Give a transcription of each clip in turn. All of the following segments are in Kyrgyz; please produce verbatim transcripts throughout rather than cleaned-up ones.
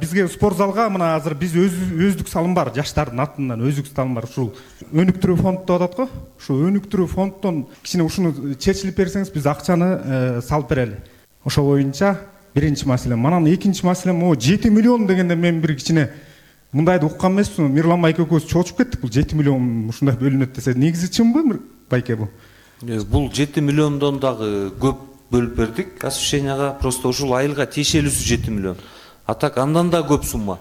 бизге спорт залга мына азыр биз өздүк салым бар, жаштардын атынан өздүк салым бар. Ушул өнүктүрүү фонд деп атат го. Ушул өнүктүрүү фонддон кичине ушуну чечилип берсеңиз, биз акчаны салып берели. Ошол боюнча биринчи маселе. Манан экинчи маселе, могу жети миллион дегенде мен бир кичине мындайды уккан эмесмин. Мирлан байке экөөбүз чоочуп кеттик. Бул жети миллион ушундай бөлүнөт десе, негизи чынбы байке бул? Бул жети миллиондон дагы көп бөлүп бердик освещенияга. Просто ушул айылга тиешелүүсү жети миллион. А так андан да көп сумма.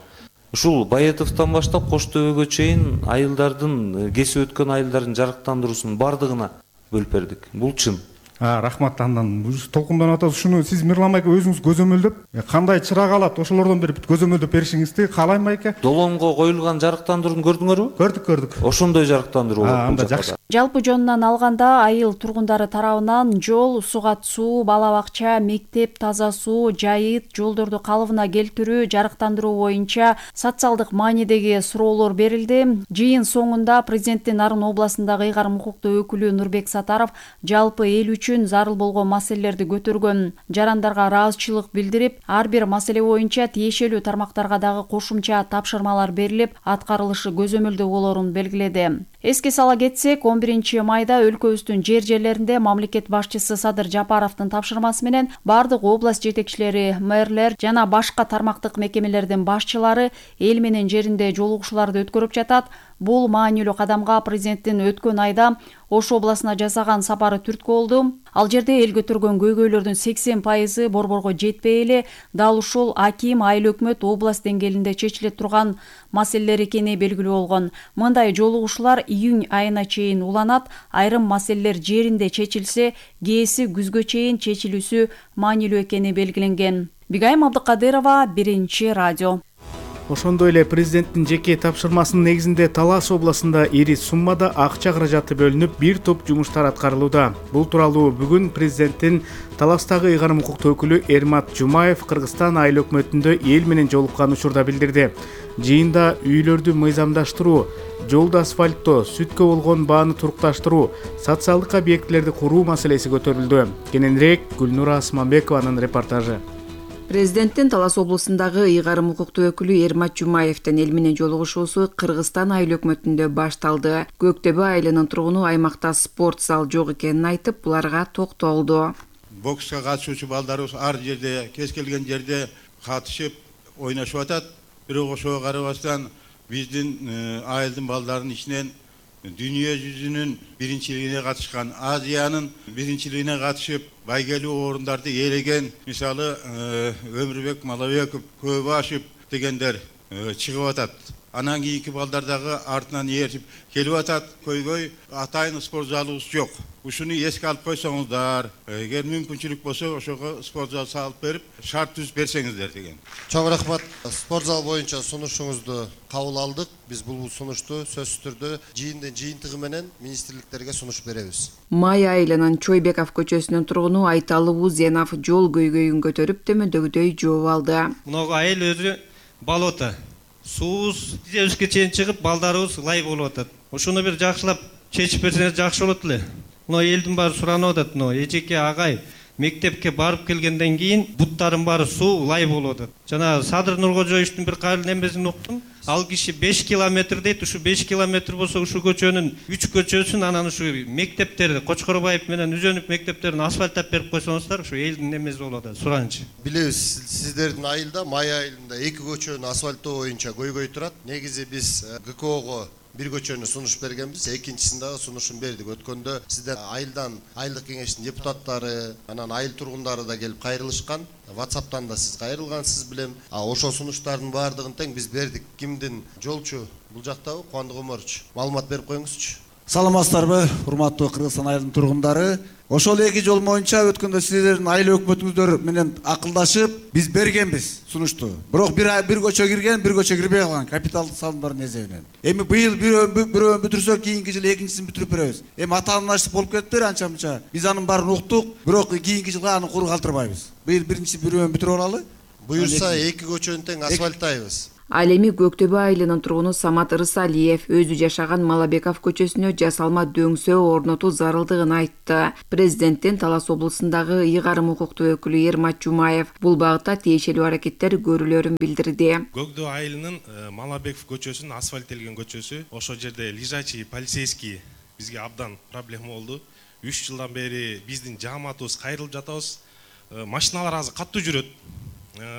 Ушул Баетовдон баштап Кош Төбөгө чейин айылдардын, кесип өткөн айылдардын жарыктандыруусунун бардыгына бөлүп бердик. Бул чын. А, рахмат. Андан толкунданып атат. Ушуну сиз Мирлан байке өзүңүз көзөмөлдөп, кандай чырак алат, ошолордон бир көзөмөлдөп беришиңизди каалайм байке. Доломго коюлган жарыктандырууну көрдүңөрбү? Көрдүк, көрдүк. Ошондой жарыктандыруу болот. Анда жакшы. Жалпы жонунан алганда айыл тургундары тарабынан жол, сугат суу, бала бакча, мектеп, таза суу, жайыт, жолдорду калыбына келтирүү, жарыктандыруу боюнча социалдык маанидеги суроолор берилди. Жыйын соңунда президенттин Нарын областындагы ыйгарым укуктуу өкүлү Нурбек Сатаров жалпы эл үчүн зарыл болгон маселелерди көтөргөн. Жарандарга ыраазычылык билдирип, ар бир маселе боюнча тиешелүү тармактарга дагы кошумча тапшырмалар берилип, аткарылышы көзөмөлдө болорун белгиледи. Эске сала кетсек, он биринчи майда өлкөбүздүн жер жерлеринде мамлекет башчысы Садыр Жапаровдун тапшырмасы менен бардык область жетекчилери, мэрлер жана башка тармактык мекемелердин башчылары эл менен жеринде жолугушууларды өткөрүп жатат. Бул маанилүү кадамга президенттин өткөн айда Ош областына жасаган сапары түрткү болду. Ал жерде эл көтөргөн көйгөйлөрдүн сексен пайызы борборго жетпей эле дал ушул аким, айыл өкмөт, область деңгээлинде чечиле турган маселелер экени белгилүү болгон. Мындай жолугушуулар июнь айына чейин уланат. Айрым маселелер жеринде чечилсе, кээси күзгө чейин чечилүүсү маанилүү экени белгиленген. Бигайым Абдыкадырова, Биринчи радио. Ошондой эле президенттин жеке тапшырмасынын негизинде Талас областында ири суммада акча каражаты бөлүнүп, бир топ жумуштар аткарылууда. Бул тууралуу бүгүн президенттин Таластагы ыйгарым укуктуу өкүлү Эрмат Жумаев Кыргызстан айыл өкмөтүндө эл менен жолуккан учурда билдирди. Жыйында үйлөрдү мыйзамдаштыруу, жолду асфальттоо, сүткө болгон бааны турукташтыруу, социалдык объектилерди куруу маселеси көтөрүлдү. Кененирээк Гүлнура Асманбекованын репортажы. Президенттин Талас областындагы ыйгарым укуктуу өкүлү Эрмат Жумаевдин эл менен жолугушуусу Кыргызстан айыл өкмөтүндө башталды. Көктөбө айылынын тургуну аймакта спорт зал жок экенин айтып, буларга токтолду. Бокска катышуучу балдарыбыз ар жерде, кез келген жерде катышып, ойношуп атат. Бирок ошого карабастан биздин айылдын балдарынын ичинен дүйнө жүзүнүн биринчилигине катышкан, Азиянын биринчилигине катышып, байгелүү орундарды ээлеген, мисалы Өмүрбек Малабеков, Көбашев дегендер чыгып атат. Анан кийинки балдар дагы артынан ээрчип келип атат. Көйгөй атайын спорт залыбыз жок. Ушуну эске алып койсоңуздар, эгер мүмкүнчүлүк болсо ошого спорт зал салып берип, шарт түзүп берсеңиздер деген. Чоң рахмат. Спорт зал боюнча сунушуңузду кабыл алдык. Биз бул сунушту сөзсүз түрдө жыйындын жыйынтыгы менен министрликтерге сунуш беребиз. Май айылынын Чойбеков көчөсүнүн тургуну Айталы Узенов жол көйгөйүн көтөрүп төмөндөгүдөй жооп алды. Мынау айыл өзү болото. Суус дебизге чейин чыгып, балдарыбыз лай болуп атат. Ошону бир жакшылап чечип берсеңиз жакшы болот эле. Мына элдин баары суранып атат, мына эжеке агай мектепке барып келгенден кийин буттарын баары суу лай болуп атат. Жана Садыр Нуркожоевдун бир кайрыл немесин уктум. Ал киши беш километр дейт. Ушу беш километр болсо ушу көчөнүн үч көчөсүн анан ушу мектептерди, Кочкорбаев менен Үзөнүп мектептерин асфальттап берип койсоңуздар, ушу элдин немеси болот атат, сураныч. Билебиз, сиздердин айылда, Май айылында эки көчөнү асфальттоо боюнча көйгөй турат. Негизи биз ГКОго бир көчөнү сунуш бергенбиз, экинчисин дагы сунушун бердик. Өткөндө сиздер айылдан айылдык кеңештин депутаттары, анан айыл тургундары да келип кайрылышкан. WhatsApp'тан да сиз кайрылгансыз билем. А ошол сунуштардын баардыгын тең биз бердик. Кимдин жолчу бул жактабы? Кубандык Омарович, маалымат берип коюңузчу. Саламатсыздарбы, урматтуу Кыргызстан айылынын тургундары. Ошол эки жол боюнча өткөндө сиздердин айыл өкмөтүңүздөр менен акылдашып, биз бергенбиз сунушту. Бирок бир бир көчө кирген, бир көчө кирбей калган капиталдык салымдардын эсебинен. Эми быйыл бирөөнү бүтүрсөк, кийинки жылы экинчисин бүтүрүп беребиз. Эми атаандаштык болуп кетиптир анча мынча. Биз анын баарын уктук, бирок кийинки жылга аны куру калтырбайбыз. Быйыл биринчи бирөөнү бүтүрүп алалы. Буюрса эки көчөнү тең асфальттайбыз. Ал эми Көктөбө айылынын тургуну Самат Рысалиев өзү жашаган Малабеков көчөсүнө жасалма дөңсөө орнотуу зарылдыгын айтты. Президенттин Талас облусундагы ыйгарым укуктуу өкүлү Эрмат Жумаев бул багытта тиешелүү аракеттер көрүлөрүн билдирди. Көктөбө айылынын Малабеков көчөсүнүн асфальттелген көчөсү, ошол жерде лежачий полицейский бизге абдан проблема болду. үч жылдан бери биздин жааматыбыз кайрылып жатабыз. Машиналар азыр каттуу жүрөт.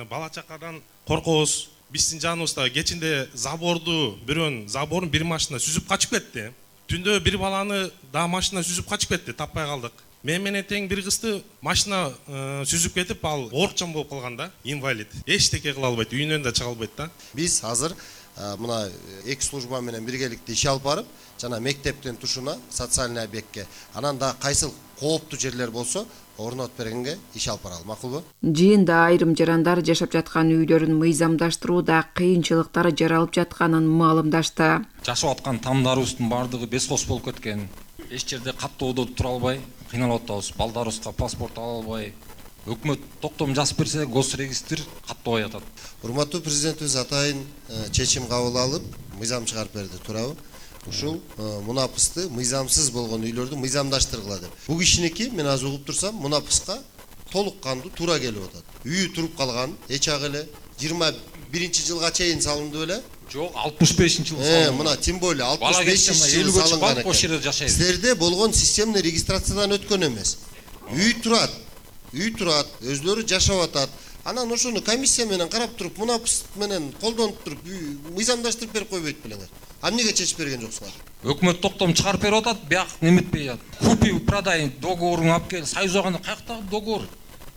Бала чакадан коркобуз. Биздин жаныбызда кечинде заборду, бирөөнүн заборун бир машина сүзүп качып кетти. Түндө бир баланы да машина сүзүп качып кетти, таппай калдык. Мен менен тең бир кызды машина сүзүп кетип, ал оорукчан болуп калган да, инвалид. Эчтеке кыла албайт, үйүнөн да чыга албайт да. Биз азыр мына эки служба менен биргеликте иш алып барып, жана мектептин тушуна, социальный объектке, анан да кайсыл кооптуу жерлер болсо орнотуп бергенге иш алып баралы, макулбу? Жыйында айрым жарандар жашап жаткан үйлөрүн мыйзамдаштырууда кыйынчылыктар жаралып жатканын маалымдашты. Жашап аткан тамдарыбыздын бардыгы бескос болуп кеткен. Эч жерде каттоодо тура албай кыйналып атабыз. Балдарыбызга паспорт ала албай. Өкмөт токтом жазып берсе, госрегистр каттабай атат. Урматтуу президентибиз атайын чечим кабыл алып, мыйзам чыгарып берди, туурабы? Ушул мунапысты мыйзамсыз болгон үйлөрдү мыйзамдаштыргыла деп. Бул кишиники мен азыр угуп турсам, мунапыска толук кандуу туура келип атат. Үйү туруп калган, эч ак эле жыйырма биринчи жылга чейин салынды беле? Жок, алтымыш бешинчи жылы салынган. Э, мына тем более алтымыш бешинчи жылы салынган экен. Силерде болгон системный регистрациядан өткөн эмес. Үй турат. Үй турат, өзлөрү жашап атат. Анан ошону комиссия менен карап туруп, мунапыс менен колдонуп туруп, мыйзамдаштырып берип койбойт белеңер. А эмнеге чечип берген жоксуңар? Өкмөт токтом чыгарып берип атат, бияк неметпей атат. Купи продай договорун алып кел, союз аганда каяктагы договор?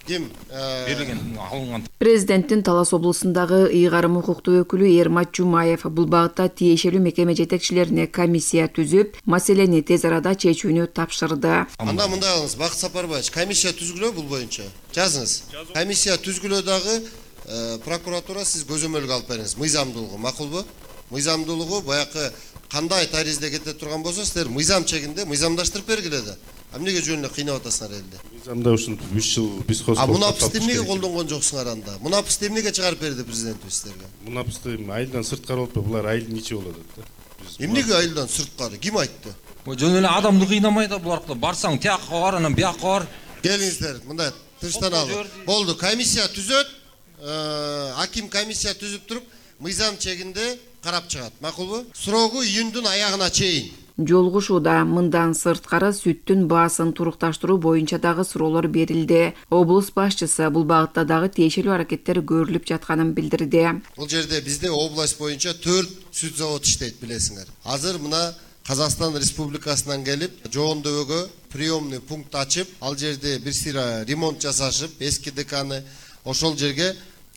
Ким берилген, алынган? Президенттин Талас облусундагы ыйгарым укуктуу өкүлү Эрмат Жумаев бул багытта тиешелүү мекеме жетекчилерине комиссия түзүп, маселени тез арада чечүүнү тапшырды. Анда мындай кылыңыз, Бакыт Сапарбаевич, комиссия түзгүлө бул боюнча. Жазыңыз. Комиссия түзгүлө дагы прокуратура сиз көзөмөлгө алып бериңиз. Мыйзамдуулугу макулбу? Мыйзамдуулугу баягы кандай таризде кете турган болсо, силер мыйзам чегинде мыйзамдаштырып бергиле да. Эмнеге жөн эле кыйнап атасыңар элди? Мыйзамда ушинтип үч жыл биз хозкол. А мунапысты эмнеге колдонгон жоксуңар анда? Мунапысты эмнеге чыгарып берди президентибиз силерге? Мунапысты айылдан сырткары болуп, булар айылдын ичи болот да. Эмнеге айылдан сырткары? Ким айтты? Жөн эле адамды кыйнамай да булар аркылуу барсаң тияққа бар, анан бияққа бар. Келиңиздер, мындай тынчтаналып. Болду, комиссия түзөт. Аким комиссия түзүп туруп, мыйзам чегинде карап чыгат. Макулбу? Срогу июндун аягына чейин. Жолугушууда мындан сырткары сүттүн баасын турукташтыруу боюнча дагы суроолор берилди. Облус башчысы бул багытта дагы тиешелүү аракеттер көрүлүп жатканын билдирди. Бул жерде бизде область боюнча төрт сүт завод иштейт, билесиңер. Азыр мына Казакстан Республикасынан келип, Жогондобөгө приемный пункт ачып, ал жерде бир сыйра ремонт жасашып, эски ДКны ошол жерге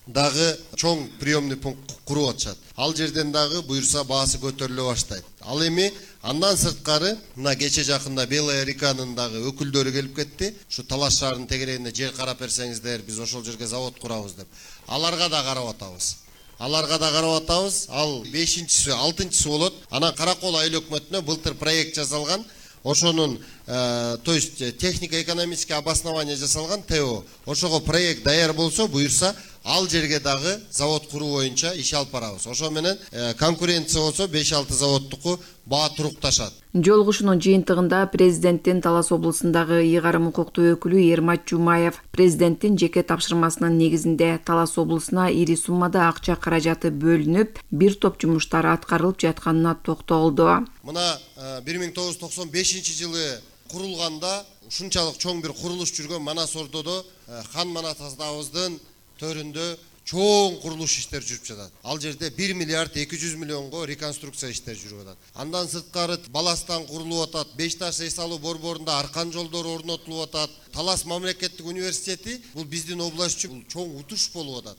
дагы чоң приемный пункт куруп атышат. Ал жерден дагы буюрса баасы көтөрүлө баштайт. Ал эми андан сырткары мына кече жакында Белая реканын дагы өкүлдөрү келип кетти. Ушу Талас шаарынын тегерегине жер карап берсеңиздер, биз ошол жерге завод курабыз деп. Аларга да карап атабыз. Аларга да карап атабыз. Ал бешинчиси, алтынчысы болот. Анан Каракол айыл өкмөтүнө былтыр проект жасалган. Ошонун, то есть технико-экономический обоснование жасалган ТО. Ошого проект даяр болсо, буюрса ал жерге дагы завод куруу боюнча иш алып барабыз. Ошо менен конкуренция болсо беш алты заводтуку баа турукташат. Жолугушуунун жыйынтыгында президенттин Талас облусундагы ыйгарым укуктуу өкүлү Эрмат Жумаев президенттин жеке тапшырмасынын негизинде Талас облусуна ири суммада акча каражаты бөлүнүп, бир топ жумуштар аткарылып жатканына токтолду. Мына бир миң тогуз жүз токсон бешинчи жылы курулганда ушунчалык чоң бир курулуш жүргөн Манас Ордодо хан Манас атабыздын төрүндө чоң курулуш иштер жүрүп жатат. Ал жерде бир миллиард эки жүз миллионго реконструкция иштер жүрүп атат. Андан сырткары Баластан курулуп атат, Бешташ эс алуу борборунда аркан жолдор орнотулуп атат. Талас мамлекеттик университети бул биздин область үчүн чоң утуш болуп атат.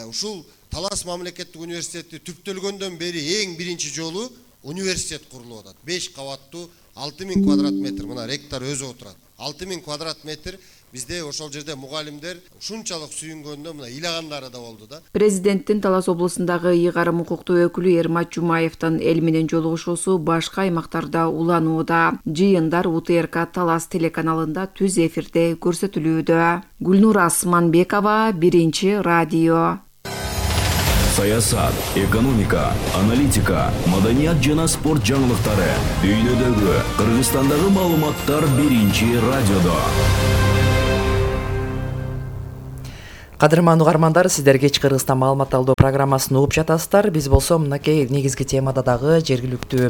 Ушул Талас мамлекеттик университети түптөлгөндөн бери эң биринчи жолу университет курулуп атат. беш кабаттуу алты миң квадрат метр, мына ректор өзү отурат. алты миң квадрат метр бизде ошол жерде мугалимдер ушунчалык сүйүнгөндө мына ыйлагандары да болду да. Президенттин Талас облусундагы ыйгарым укуктуу өкүлү Эрмат Жумаевдин эл менен жолугушуусу башка аймактарда уланууда. Жыйындар У Т Р К Талас телеканалында түз эфирде көрсөтүлүүдө. Гүлнура Асманбекова, Биринчи радио. саясат, экономика, аналитика, маданият жана спорт жаңылыктары, дүйнөдөгү, Кыргызстандагы маалыматтар биринчи радиодо. Кадырман угармандар, сиздер кеч Кыргызстан маалымат алуу программасын угуп жатасыздар. Биз болсо мынакей негизги темада дагы жергиликтүү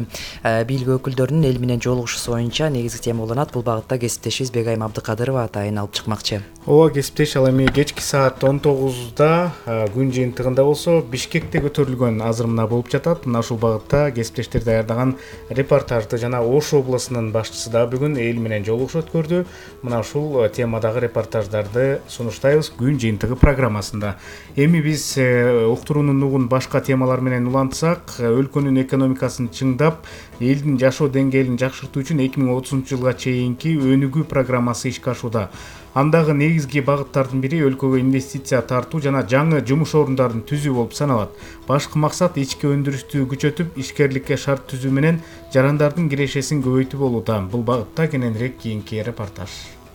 бийлик өкүлдөрүнүн эл менен жолугушуусу боюнча негизги тема болонат. Бул багытта кесиптешибиз Бегайым Абдыкадырова атайын алып чыкмакчы. Ооба, кесиптеш, ал эми кечки саат он тогузда күн жыйынтыгында болсо Бишкекте көтөрүлгөн азыр мына болуп жатат. Мына ушул багытта кесиптештер даярдаган репортажды жана Ош облусунун башчысы да бүгүн эл менен жолугуш өткөрдү. Мына ушул темадагы репортаждарды сунуштайбыз күн жыйынтыгы программасында. Эми биз уктуруунун нугун башка темалар менен улантсак, өлкөнүн экономикасын чыңдап, элдин жашоо деңгээлин жакшыртуу үчүн эки миң отузунчу жылга чейинки өнүгүү программасы ишке ашууда. Андагы негизги багыттардын бири өлкөгө инвестиция тартуу жана жаңы жумуш орундарын түзүү болуп саналат. Башкы максат ички өндүрүштү күчөтүп, ишкерликке шарт түзүү менен жарандардын кирешесин көбөйтүү болууда. Бул багытта кененирээк кийинки репортаж.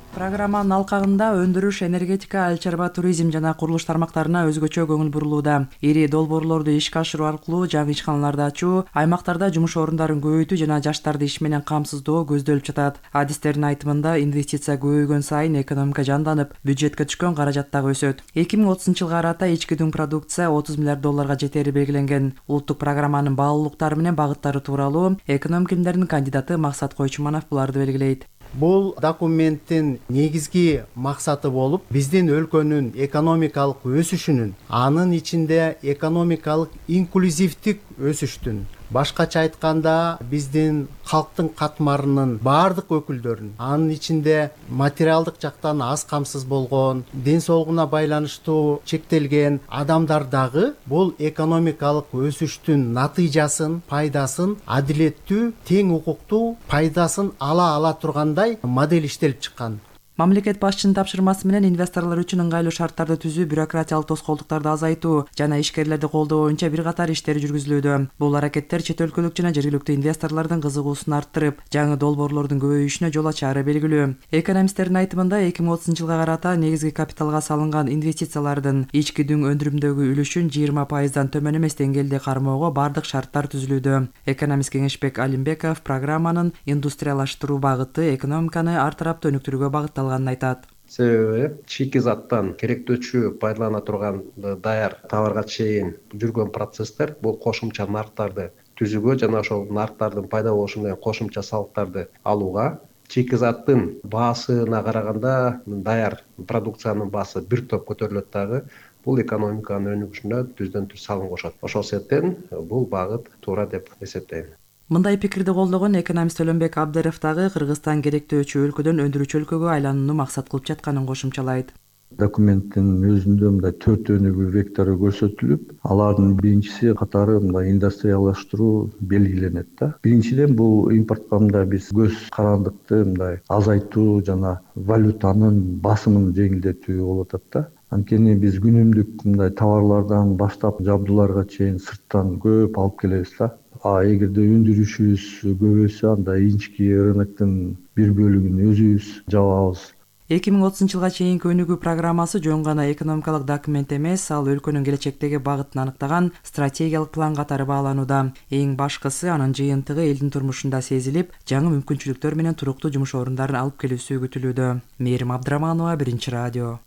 Программанын алкагында өндүрүш, энергетика, айыл чарба, туризм жана курулуш тармактарына өзгөчө көңүл бурулууда. Ири долбоорлорду ишке ашыруу аркылуу жаңы ишканаларды ачуу, аймактарда жумуш орундарын көбөйтүү жана жаштарды иш менен камсыздоо көздөлүп жатат. Адистердин айтымында, инвестиция көбөйгөн сайын экономика жанданып, бюджетке түшкөн каражат дагы өсөт. эки миң отузунчу жылга карата ички дүң продукция отуз миллиард долларга жетери белгиленген. Улуттук программанын баалуулуктары менен багыттары тууралуу экономика илимдеринин кандидаты Максат Койчуманов буларды белгилейт. Бул документтин негизги максаты болуп, биздин өлкөнүн экономикалык өсүшүнүн, анын ичинде экономикалык инклюзивдик өсүштүн, башкача айтканда биздин калктын катмарынын баардык өкүлдөрүн, анын ичинде материалдык жактан аз камсыз болгон, ден соолугуна байланыштуу чектелген адамдардагы бул экономикалык өсүштүн натыйжасын, пайдасын адилеттүү, тең укуктуу пайдасын ала ала тургандай модель иштелип чыккан. Мамлекет башчынын тапшырмасы менен инвесторлор үчүн ыңгайлуу шарттарды түзүү, бюрократиялык тоскоолдуктарды азайтуу жана ишкерлерди колдоо боюнча бир катар иштер жүргүзүлүүдө. Бул аракеттер чет өлкөлүк жана жергиликтүү инвесторлордун кызыгуусун арттырып, жаңы долбоорлордун көбөйүшүнө жол ачаары белгилүү. Экономисттердин айтымында эки миң отузунчу жылга карата негизги капиталга салынган инвестициялардын ички дүң өндүрүмдөгү үлүшүн жыйырма пайыздан төмөн эмес деңгээлде кармоого бардык шарттар түзүлүүдө. Экономист Кеңешбек Алимбеков программанын индустриялаштыруу багыты экономиканы ар тараптуу өнүктүрүүгө багытталган айтат. Себеби шикизаттан керектөөчү пайдалана турган даяр товарга чейин жүргөн процесстер бул кошумча нарктарды түзүүгө жана ошол нарктардын пайда болушу менен кошумча салыктарды алууга, шикизаттын баасына караганда даяр продукциянын баасы бир топ көтөрүлөт дагы, бул экономиканын өнүгүшүнө түздөн түз салым кошот. Ошол себептен бул багыт туура деп эсептейм. Мындай пикирди колдогон экономист Өлөнбек Абдыров дагы Кыргызстан керектөөчү өлкөдөн өндүрүүчү өлкөгө айланууну максат кылып жатканын кошумчалайт. Документтин өзүндө мындай төрт өнүгүү вектору көрсөтүлүп, алардын биринчиси катары мындай индустриялаштыруу белгиленет да. Биринчиден бул импортко мындай биз көз карандыкты мындай азайтуу жана валютанын басымын жеңилдетүү болуп атат да. Анткени биз күнүмдүк мындай товарлардан баштап жабдууларга чейин сырттан көп алып келебиз да. А эгерде өндүрүшүбүз көбөйсө, анда ички рыноктун бир бөлүгүн өзүбүз жабабыз. эки миң отузунчу жылга чейинки өнүгүү программасы жөн гана экономикалык документ эмес, ал өлкөнүн келечектеги багытын аныктаган стратегиялык план катары бааланууда. Эң башкысы анын жыйынтыгы элдин турмушунда сезилип, жаңы мүмкүнчүлүктөр менен туруктуу жумуш орундарын алып келүүсү күтүлүүдө. Мээрим Абдыраманова, Биринчи радио.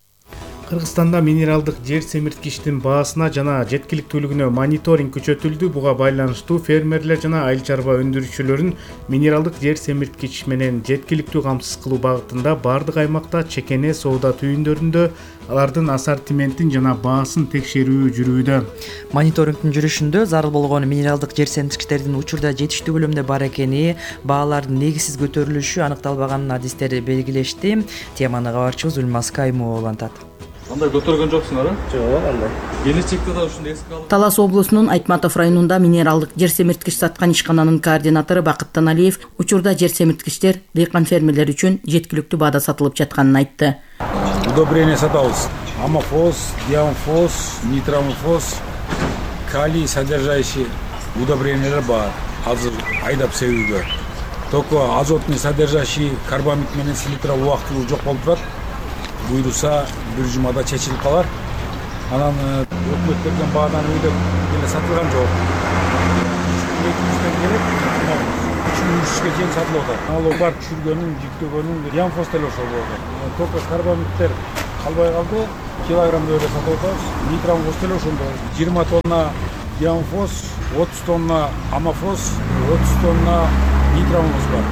Кыргызстанда минералдык жер семирткичтин баасына жана жеткиликтүүлүгүнө мониторинг күчөтүлдү. Буга байланыштуу фермерлер жана айыл чарба өндүрүүчүлөрүн минералдык жер семирткич менен жеткиликтүү камсыз кылуу багытында бардык аймакта чекене соода түйүндөрүндө алардын ассортиментин жана баасын текшерүү жүрүүдө. Мониторингдин жүрүшүндө зарыл болгон минералдык жер семирткичтердин учурда жетиштүү көлөмдө бар экени, баалардын негизсиз көтөрүлүшү аныкталбаганын адистер белгилешти. Теманы кабарчыбыз Үлмас Каймова улантат. Андай көтөргөн жоксуңар, а? Жок, андай. Келечекте да ушундай эске алып. Талас облусунун Айтматов районунда минералдык жер семирткич саткан ишкананын координатору Бакыт Таналиев учурда жер семирткичтер дыйкан фермерлер үчүн жеткиликтүү баада сатылып жатканын айтты. Удобрение сатабыз. Амофос, диамофос, нитромофос, калий содержащий удобрениялар бар. Азыр айдап себүүгө. Только азотный содержащий карбамид менен селитра убактылуу жок болуп турат. Буйруса бир жумада чечилип калар. Анан өкмөт берген баадан өйдөп эле сатылган жок. эки жүздөн келет, үч миң үчкө чейин сатылып атат. Налог бар түшүргөнүн, жүктөгөнүн янфос деле ошол болду. Только карбамиттер калбай калды, килограмм эле сатып атабыз. Нитрамфос деле ошондой. жыйырма тонна янфос, отуз тонна амафос, отуз тонна нитрамфос бар.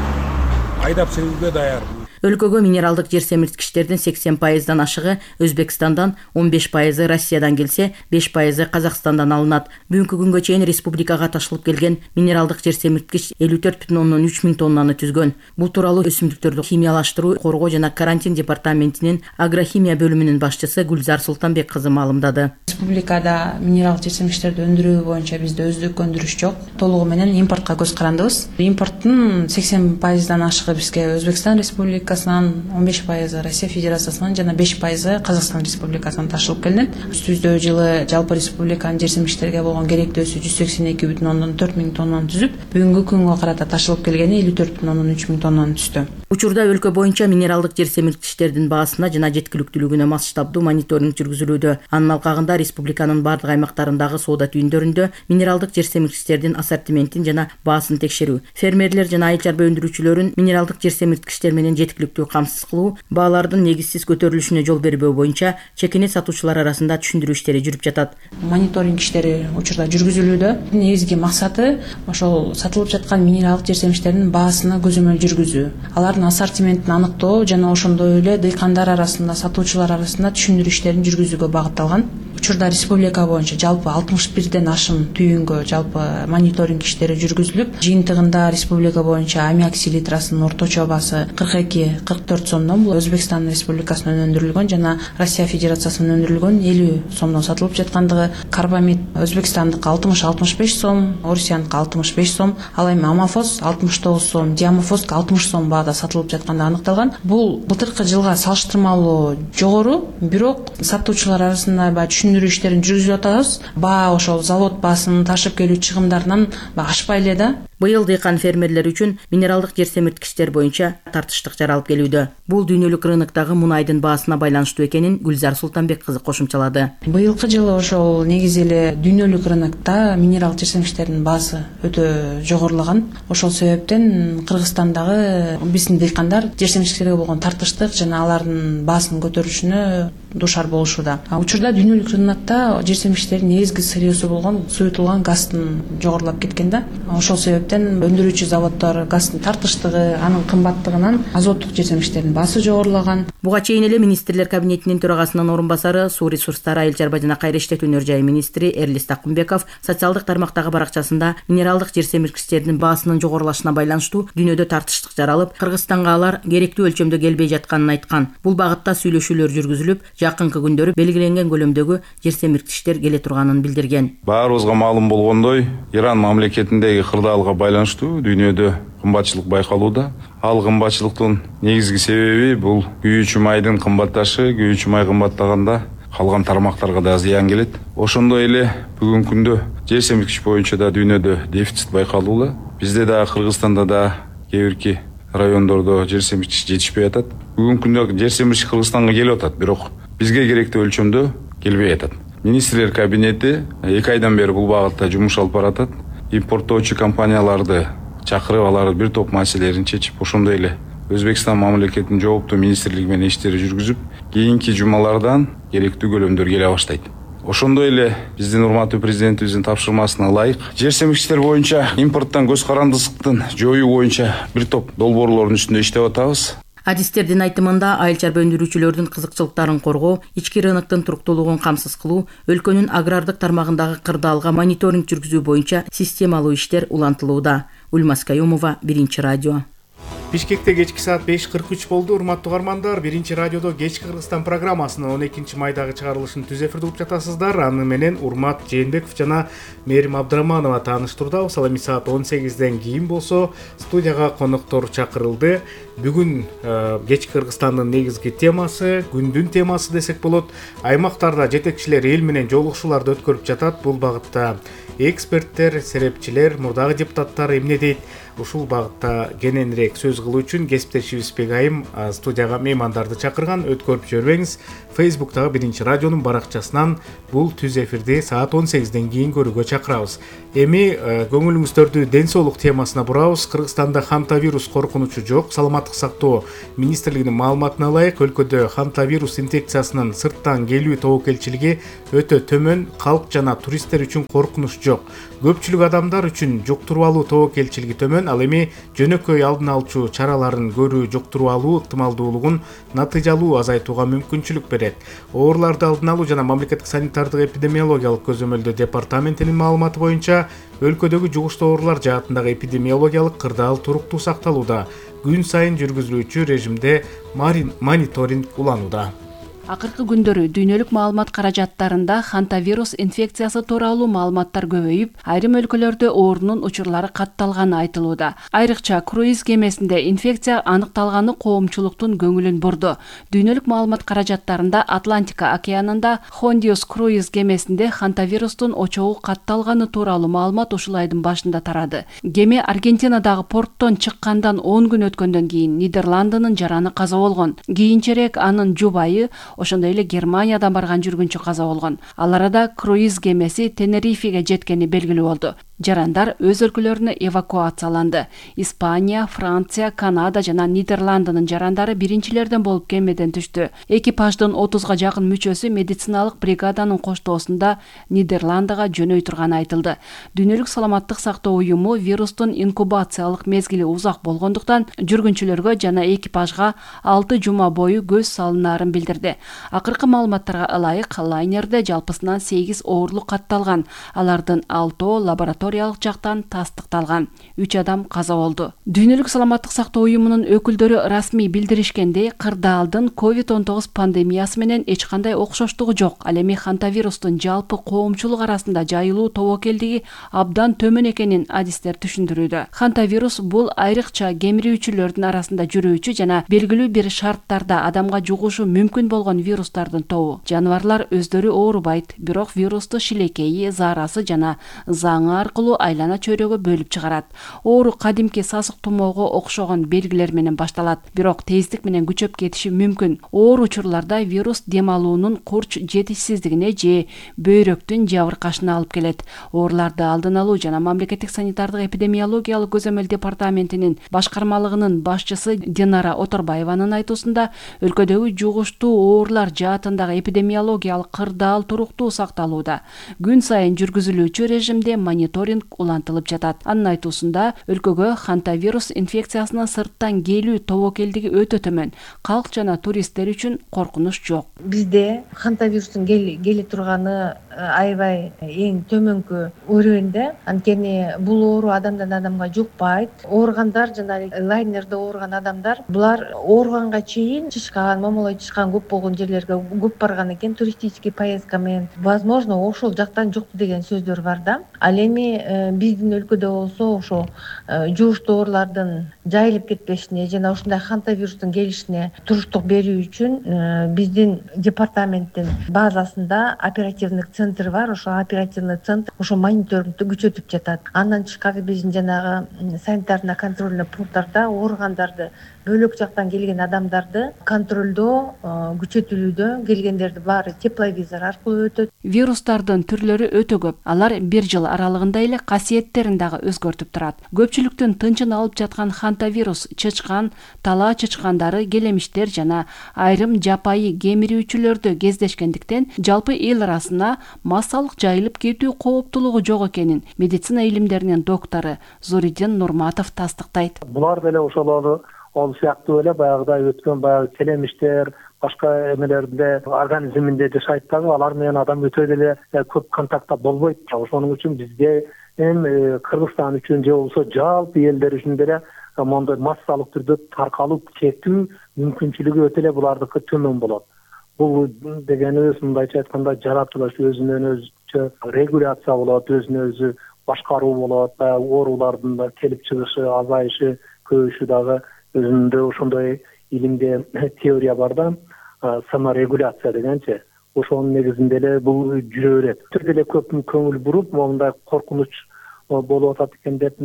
Айдап себүүгө даяр. Өлкөгө минералдык жер семирткичтердин сексен пайыздан ашыгы Өзбекстандан, он беш пайызы Россиядан келсе, беш пайызы Казакстандан алынат. Бүгүнкү күнгө чейин республикага ташылып келген минералдык жер семирткич элүү төрт бүтүн ондон үч миң тоннаны түзгөн. Бул тууралуу өсүмдүктөрдү химиялаштыруу, коргоо жана карантин департаментинин агрохимия бөлүмүнүн башчысы Гүлзар Султанбек кызы маалымдады. Республикада минералдык жер семирткичтерди өндүрүү боюнча бизде өздүк өндүрүш жок. Толугу менен импортко көз карандыбыз. Импорттун сексен пайыздан ашыгы бизге Өзбекстан Республикасынан, он беш пайызы Россия Федерациясынан жана беш пайызы Казакстан Республикасынан ташылып келинет. Өтүбүздө жылы жалпы республиканын жер семирткичтерге болгон керектөөсү жүз сексен эки бүтүн ондон төрт миң тоннаны түзүп, бүгүнкү күнгө карата ташылып келгени элүү төрт бүтүн ондон үч миң тоннаны түздү. Учурда өлкө боюнча минералдык жер семирткичтердин баасына жана жеткиликтүүлүгүнө масштабдуу мониторинг жүргүзүлүүдө. Анын алкагында республиканын бардык аймактарындагы соода түйүндөрүндө минералдык жер семирткичтердин ассортиментин жана баасын текшерүү, фермерлер жана айыл чарба өндүрүүчүлөрүн минералдык жер семирткичтер менен жеткиликтүү камсыз кылуу, баалардын негизсиз көтөрүлүшүнө жол бербөө боюнча чекине сатуучулар арасында түшүндүрүү иштери жүрүп жатат. Мониторинг иштери учурда жүргүзүлүүдө. Негизги максаты ошол сатылып жаткан минералдык жер семирткичтердин баасына көзөмөл жүргүзүү, алардын ассортиментин аныктоо жана ошондой эле дыйкандар арасында, сатуучулар арасында түшүндүрүү иштерин жүргүзүүгө багытталган. Учурда республика боюнча жалпы алтымыш бирден ашым түйүнгө жалпы мониторинг иштери жүргүзүлүп, жыйынтыгында республика боюнча аммиак селитрасынын орточо баасы кырк эки кырк төрт сомдон, бул Өзбекстан Республикасынан өндүрүлгөн жана Россия Федерациясынан өндүрүлгөн элүү сомдон сатылып жаткандыгы, карбамид Өзбекстандык алтымыш алтымыш беш сом, Орусияныкы алтымыш беш сом, ал эми амафос алтымыш тогуз сом, диамофос алтымыш сом баада сатылып жаткандыгы аныкталган. Бул былтыркы жылга салыштырмалуу жогору, бирок сатуучулар арасында баягы түшүндүрүү иштерин жүргүзүп атабыз. Баа ошол завод баасынын ташып келүү чыгымдарынан ашпай эле да. Быйыл дыйкан фермерлер үчүн минералдык жер семирткичтер боюнча тартыштык жаралып келүүдө. Бул дүйнөлүк рыноктогу мунайдын баасына байланыштуу экенин Гүлзар Султанбек кызы кошумчалады. Быйылкы жылы ошол негизи эле дүйнөлүк рынокто минералдык жер семирткичтердин баасы өтө жогорулаган. Ошол себептен Кыргызстандагы биздин дыйкандар жер семирткичтерге болгон тартыштык жана алардын баасын көтөрүшүнө душар болушууда. Учурда дүйнөлүк рынокто жер семирткичтердин негизги сырьёсу болгон суютулган газдын жогорулап кеткен да. Ошол себептен өндүрүүчү заводдор газдын тартыштыгы, анын кымбаттыгынан азоттук жер семирткичтердин баасы жогорулаган. Буга чейин эле министрлер кабинетинин төрагасынын орун басары, суу ресурстары, айыл чарба жана кайра иштетүүнөр жайы министри Эрлис Такымбеков социалдык тармактагы баракчасында минералдык жер семирткичтердин баасынын жогорулашына байланыштуу дүйнөдө тартыштык жаралып, Кыргызстанга алар керектүү өлчөмдө келбей жатканын айткан. Бул багытта сүйлөшүүлөр жүргүзүлүп, жакынкы күндөрү белгиленген көлөмдөгү жер семирткичтер келе турганын билдирген. Баарыбызга маалым болгондой, Иран мамлекетиндеги кырдаалга байланыштуу дүйнөдө кымбатчылык байкалууда. Ал кымбатчылыктын негизги себеби бул күйүүчү майдын кымбатташы, күйүүчү май кымбаттаганда калган тармактарга да зыян келет. Ошондой эле бүгүнкү күндө жер семирткич боюнча да дүйнөдө дефицит байкалууда. Бизде да Кыргызстанда да кээ бирки райондордо жер семирткич жетишпей атат. Бүгүнкү күндө жер семирткич Кыргызстанга келип атат, бирок бизге керектүү өлчөмдө келбей атат. Министрлер кабинети эки айдан бери бул багытта жумуш алып баратат. Импорттоочу компанияларды чакырып, алар бир топ маселелерин чечип, ошондой эле Өзбекстан мамлекетинин жооптуу министрлиги менен иштери жүргүзүп, кийинки жумалардан керектүү көлөмдөр келе баштайт. Ошондой эле биздин урматтуу президентибиздин тапшырмасына ылайык жер семирткичтер боюнча импорттон көз карандысыздыктын жоюу боюнча бир топ долбоорлордун үстүндө иштеп атабыз. Адистердин айтымында айыл чарба өндүрүүчүлөрдүн кызыкчылыктарын коргоо, ички рыноктун туруктуулугун камсыз кылуу, өлкөнүн агрардык тармагындагы кырдаалга мониторинг жүргүзүү боюнча системалуу иштер улантылууда. Ульмас Каюмова, Биринчи радио. Бишкекте кечки саат беш кырк үч болду. Урматтуу угармандар, Биринчи радиодо кечки Кыргызстан программасынын он экинчи майдагы чыгарылышын түз эфирде угуп жатасыздар. Аны менен Урмат Жээнбеков жана Мээрим Абдыраманова тааныштырдабыз. Ал эми саат он сегизден кийин болсо студияга коноктор чакырылды. Бүгүн кечки Кыргызстандын негизги темасы, күндүн темасы десек болот. Аймактарда жетекчилер эл менен жолугушууларды өткөрүп жатат. Бул багытта Эксперттер, серепчилер, мурдагы депутаттар эмне дейт? Ушул багытта кененирээк сөз кылуу үчүн кесиптешибиз Бегайым студияга меймандарды чакырган. Өткөрүп жибербеңиз. Фейсбуктагы биринчи радионун баракчасынан бул түз эфирди саат он сегизден кийин көрүүгө чакырабыз. Эми көңүлүңүздөрдү ден соолук темасына бурабыз. Кыргызстанда хантавирус коркунучу жок. Саламаттык сактоо министрлигинин маалыматына ылайык, өлкөдө хантавирус инфекциясынын сырттан келүү тобокелчилиги өтө төмөн, калк жана туристтер үчүн коркунуч жок. Көпчүлүк адамдар үчүн жуктуруп алуу тобокелчилиги төмөн, ал эми жөнөкөй алдын алчу чараларын көрүү жуктуруп алуу ыктымалдуулугун натыйжалуу азайтууга мүмкүнчүлүк берет. Ооруларды алдын алуу жана мамлекеттик санитардык эпидемиологиялык көзөмөлдөө департаментинин маалыматы боюнча, өлкөдөгү жугуштуу оорулар жаатындагы эпидемиологиялык кырдаал туруктуу сакталууда. Күн сайын жүргүзүлүүчү режимде мониторинг уланууда. Акыркы күндөрү дүйнөлүк маалымат каражаттарында хантавирус инфекциясы тууралуу маалыматтар көбөйүп, айрым өлкөлөрдө оорунун учурлары катталганы айтылууда. Айрыкча круиз кемесинде инфекция аныкталганы коомчулуктун көңүлүн бурду. Дүйнөлүк маалымат каражаттарында Атлантика океанында Хондиус круиз кемесинде хантавирустун очогу катталганы тууралуу маалымат ушул айдын башында тарады. Кеме Аргентинадагы порттон чыккандан он күн өткөндөн кийин Нидерландынын жараны каза болгон. Кийинчерээк анын жубайы, ошондой эле Германиядан барган жүргүнчү каза болгон. Ал арада круиз кемеси Тенерифеге жеткени белгилүү болду. Жарандар өз өлкөлөрүнө эвакуацияланды. Испания, Франция, Канада жана Нидерландынын жарандары биринчилерден болуп кемеден түштү. Экипаждын отузга жакын мүчөсү медициналык бригаданын коштоосунда Нидерландыга жөнөй турганы айтылды. Дүйнөлүк саламаттык сактоо уюму вирустун инкубациялык мезгили узак болгондуктан жүргүнчүлөргө жана экипажга алты жума бою көз салынаарын билдирди. Акыркы маалыматтарга ылайык, лайнерде жалпысынан сегиз оорлук катталган. Алардын алтоо лабораториялык жактан тастыкталган. үч адам каза болду. Дүйнөлүк саламаттык сактоо уюмунун өкүлдөрү расмий билдиришкендей, кырдаалдын ковид он тогуз пандемиясы менен эч кандай окшоштугу жок. Ал эми хантавирустун жалпы коомчулук арасында жайылуу тобокелдиги абдан төмөн экенин адистер түшүндүрүүдө. Хантавирус бул айрыкча кемирүүчүлөрдүн арасында жүрүүчү жана белгилүү бир шарттарда адамга жугушу мүмкүн болгон вирустардын тобу. Жаныбарлар өздөрү оорубайт, бирок вирусту шилекейи, заарасы жана заңы аркылуу айлана чөйрөгө бөлүп чыгарат. Оору кадимки сасык тумоого окшогон белгилер менен башталат, бирок тездик менен күчөп кетиши мүмкүн. Оор учурларда вирус дем алуунун курч жетишсиздигине же бөйрөктүн жабыркашына алып келет. Ооруларды алдын алуу жана мамлекеттик санитардык эпидемиологиялык көзөмөл департаментинин башкармалыгынын башчысы Динара Оторбаеванын айтуусунда, өлкөдөгү жугуштуу оорулар жаатындагы эпидемиологиялык кырдаал туруктуу сакталууда. Күн сайын жүргүзүлүүчү режимде мониторинг улантылып жатат. Анын айтуусунда, өлкөгө хантавирус инфекциясынын сырттан келүү тобокелдиги өтө төмөн. Калк жана туристтер үчүн коркунуч жок. Бизде хантавирустун келе турганы аябай эң төмөнкү өрөөндө. Анткени бул оору адамдан адамга жукпайт. Ооругандар жана лайнерде ооруган адамдар, булар ооруганга чейин чычкан, момолой чычкан көп болгон жерлерге көп барган экен, туристический поездка менен. Возможно, ошол жактан жукту деген сөздөр бар да. Ал эми биздин өлкөдө болсо ошо жугуштуу оорулардын жайылып кетпешине жана ушундай хантавирустун келишине туруштук берүү үчүн биздин департаменттин базасында оперативный центр бар. Ошо оперативный центр ошо мониторингди күчөтүп жатат. Андан тышкары биздин жанагы санитарно контрольный пункттарда ооругандарды, бөлөк жактан келген адамдарды контролдоо күчөтүлүүдө. Келгендерди баары тепловизор аркылуу өтөт. Вирустардын түрлөрү өтө көп. Алар бир жыл аралыгында эле касиеттерин дагы өзгөртүп турат. Көпчүлүктүн тынчын алып жаткан хантавирус чычкан, талаа чычкандары, келемиштер жана айрым жапайы кемирүүчүлөрдө кездешкендиктен жалпы эл арасына массалык жайылып кетүү кооптулугу жок экенин медицина илимдеринин доктору Зоридин Нурматов тастыктайт. Булар деле ошолору ол сыяктуу эле баягыдай өткөн баягы келемиштер, башка эмелерде организминде жашайт дагы, алар менен адам өтө деле көп контактта болбойт. Ошоның үчүн бизде эми Кыргызстан үчүн же болбосо жалпы элдер үчүн деле мондой массалык түрдө таркалып кетүү мүмкүнчүлүгү өтө эле булардыкы төмөн болот. Бул дегенибиз мындайча айтканда жаратылыш өзүнөн өзүчө регуляция болот, өзүнө өзү башкаруу болот, оорулардын да келип чыгышы, азайышы, көбөйүшү дагы өзүндө ошондой илимде теория бар да, саморегуляция дегенчи. ошонун негизинде эле бул жүрө берет. Өтө деле көп көңүл буруп моундай коркунуч болуп атат экен деп